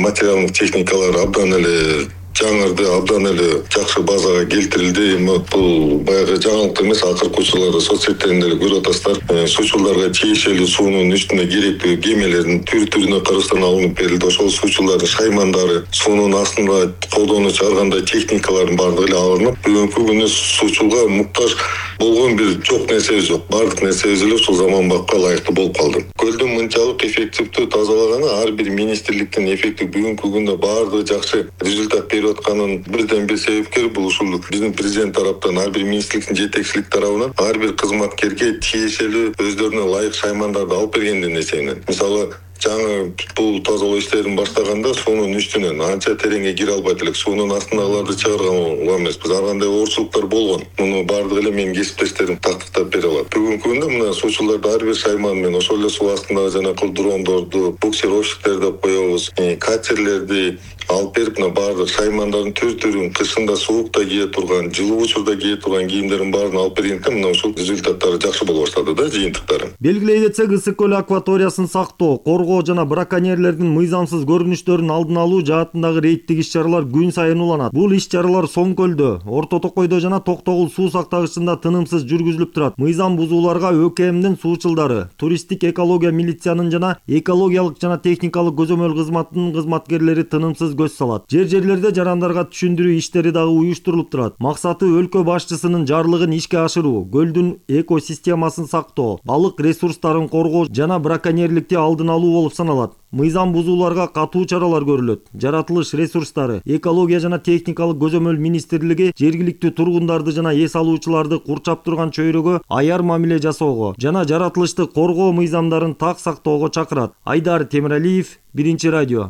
материалдык техникалары абдан эле жаңырды, абдан эле жакшы базага келтирилди. Бул баягы жаңылык эмес, акыркы учурларда соц сеттеринде эле көрүп атасыздар. Суучулдарга тиешелүү суунун үстүнө керектүү кемелердин түр-түрүнө Кыргызстандан алынып берилди. Ошол суучулардын шаймандары, суунун астында колдонуучу ар кандай техникалардын бардыгы эле алынып, бүгүнкү күндө суучулга муктаж болгон бир жок нерсебиз жок. Бардык нерсебиз эле ушул заманбапка ылайыктуу болуп калды. Көлдүн мынчалык эффективдүү тазалаганы ар бир министрликтин эффекти бүгүнкү күндө бардыгы жакшы результат берип атканын бирден бир себепкери бул ушул биздин президент тараптан, ар бир министрликтин жетекчилик тарабынан ар бир кызматкерге тиешелүү өздөрүнө ылайык шаймандарды алып бергендин эсебинен. Мисалы, жаңы бул тазалоо иштерин баштаганда суунун үстүнөн анча тереңге кире албайт элек, суунун астындагыларды чыгарган эмеспиз. Ар кандай оорчулуктар болгон. Муну бардыгы эле менин кесиптештерим тактыктап бере алат. Бүгүнкү күндө мына суучуларды ар бир шайман менен ошол эле суу астындагы жанакы дрондорду, буксировщиктер деп коебуз, катерлерди алып берип, мына бардык шаймандардын түр-түрүн, кышында суукта кие турган, жылуу учурда кие турган кийимдердин баарын алып бергендиктен мына ушул результаттары жакшы боло баштады да, жыйынтыктары. Белгилей кетсек, Ысык көл акваториясын сактоо, коргоо жана браконьерлердин мыйзамсыз көрүнүштөрүн алдын алуу жаатындагы рейдтик иш-чаралар күн сайын уланат. Бул иш-чаралар Соң көлдө, Орто Токойдо жана Токтогул суу сактагычында тынымсыз жүргүзүлүп турат. Мыйзам бузууларга ÖKMдин суучулдары, туристтик экология милициянын жана экологиялык жана техникалык көзөмөл кызматынын кызматкерлери тынымсыз көз салат. Жерлерде жарандарга түшүндүрүү иштери дагы уюштурулуп турат. Максаты өлкө башчысынын жарлыгын ишке ашыруу, көлдүн экосистемасын сактоо, балык ресурстарын коргоо жана браконьерликти алдын алуу болуп саналат. Мыйзам бузууларга катуу чаралар көрүлөт. Жаратылыш ресурстары, экология жана техникалык көзөмөл министрлиги жергиликтүү тургундарды жана эс алуучуларды курчап турган чөйрөгө аяр мамиле жасоого жана жаратылышты коргоо мыйзамдарын так сактоого чакырат. Айдар Темиралиев, Биринчи радио.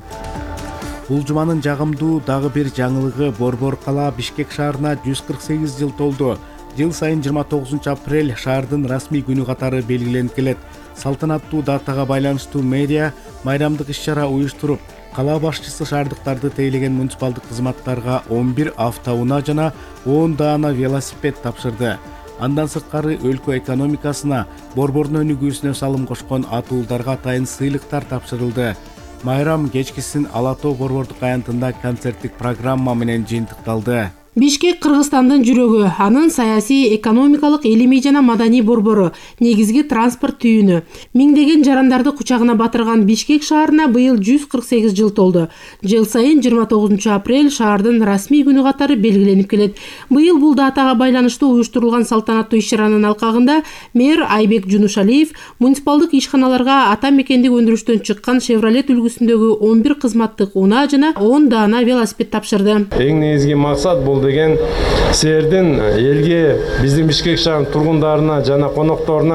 Бул жуманын жагымдуу дагы бир жаңылыгы Борбор кала Бишкек шаарына 148 жыл толду. Жыл сайын 29 апрель шаардын расмий күнү катары белгиленип келет. Салтанаттуу датага байланыштуу мэрия майрамдык иш-чара уюштуруп, кала башчысы шаардыктарды тейлеген муниципалдык кызматтарга 11 автоунаа жана 10 даана велосипед тапшырды. Андан сырткары өлкө экономикасына, Борбордун өнүгүүсүнө салым кошкон атуулдарга атайын сыйлыктар тапшырылды. Майрам кечкисин Ала Тоо борбордук аянтында концерттик программа менен жыйынтыкталды. Бишкек Кыргызстандын жүрөгү, анын саясий, экономикалык, илимий жана маданий борбору, негизги транспорт түйүнү. Миңдеген жарандарды кучагына батырган Бишкек шаарына быйыл 148 жыл толду. Жыл сайын 29 апрель шаардын расмий күнү катары белгиленип келет. Быйыл бул датага байланыштуу уюштурулган салтанаттуу иш-чаранын алкагында мэр Айбек Жунушалиев муниципалдык ишканаларга ата мекендик өндүрүштөн чыккан Chevrolet үлгүсүндөгү 11 кызматтык унаа жана 10 даана велосипед тапшырды. Эң негизги максат бул деген силердин элге, биздин Бишкек шаарынын тургундарына жана конокторуна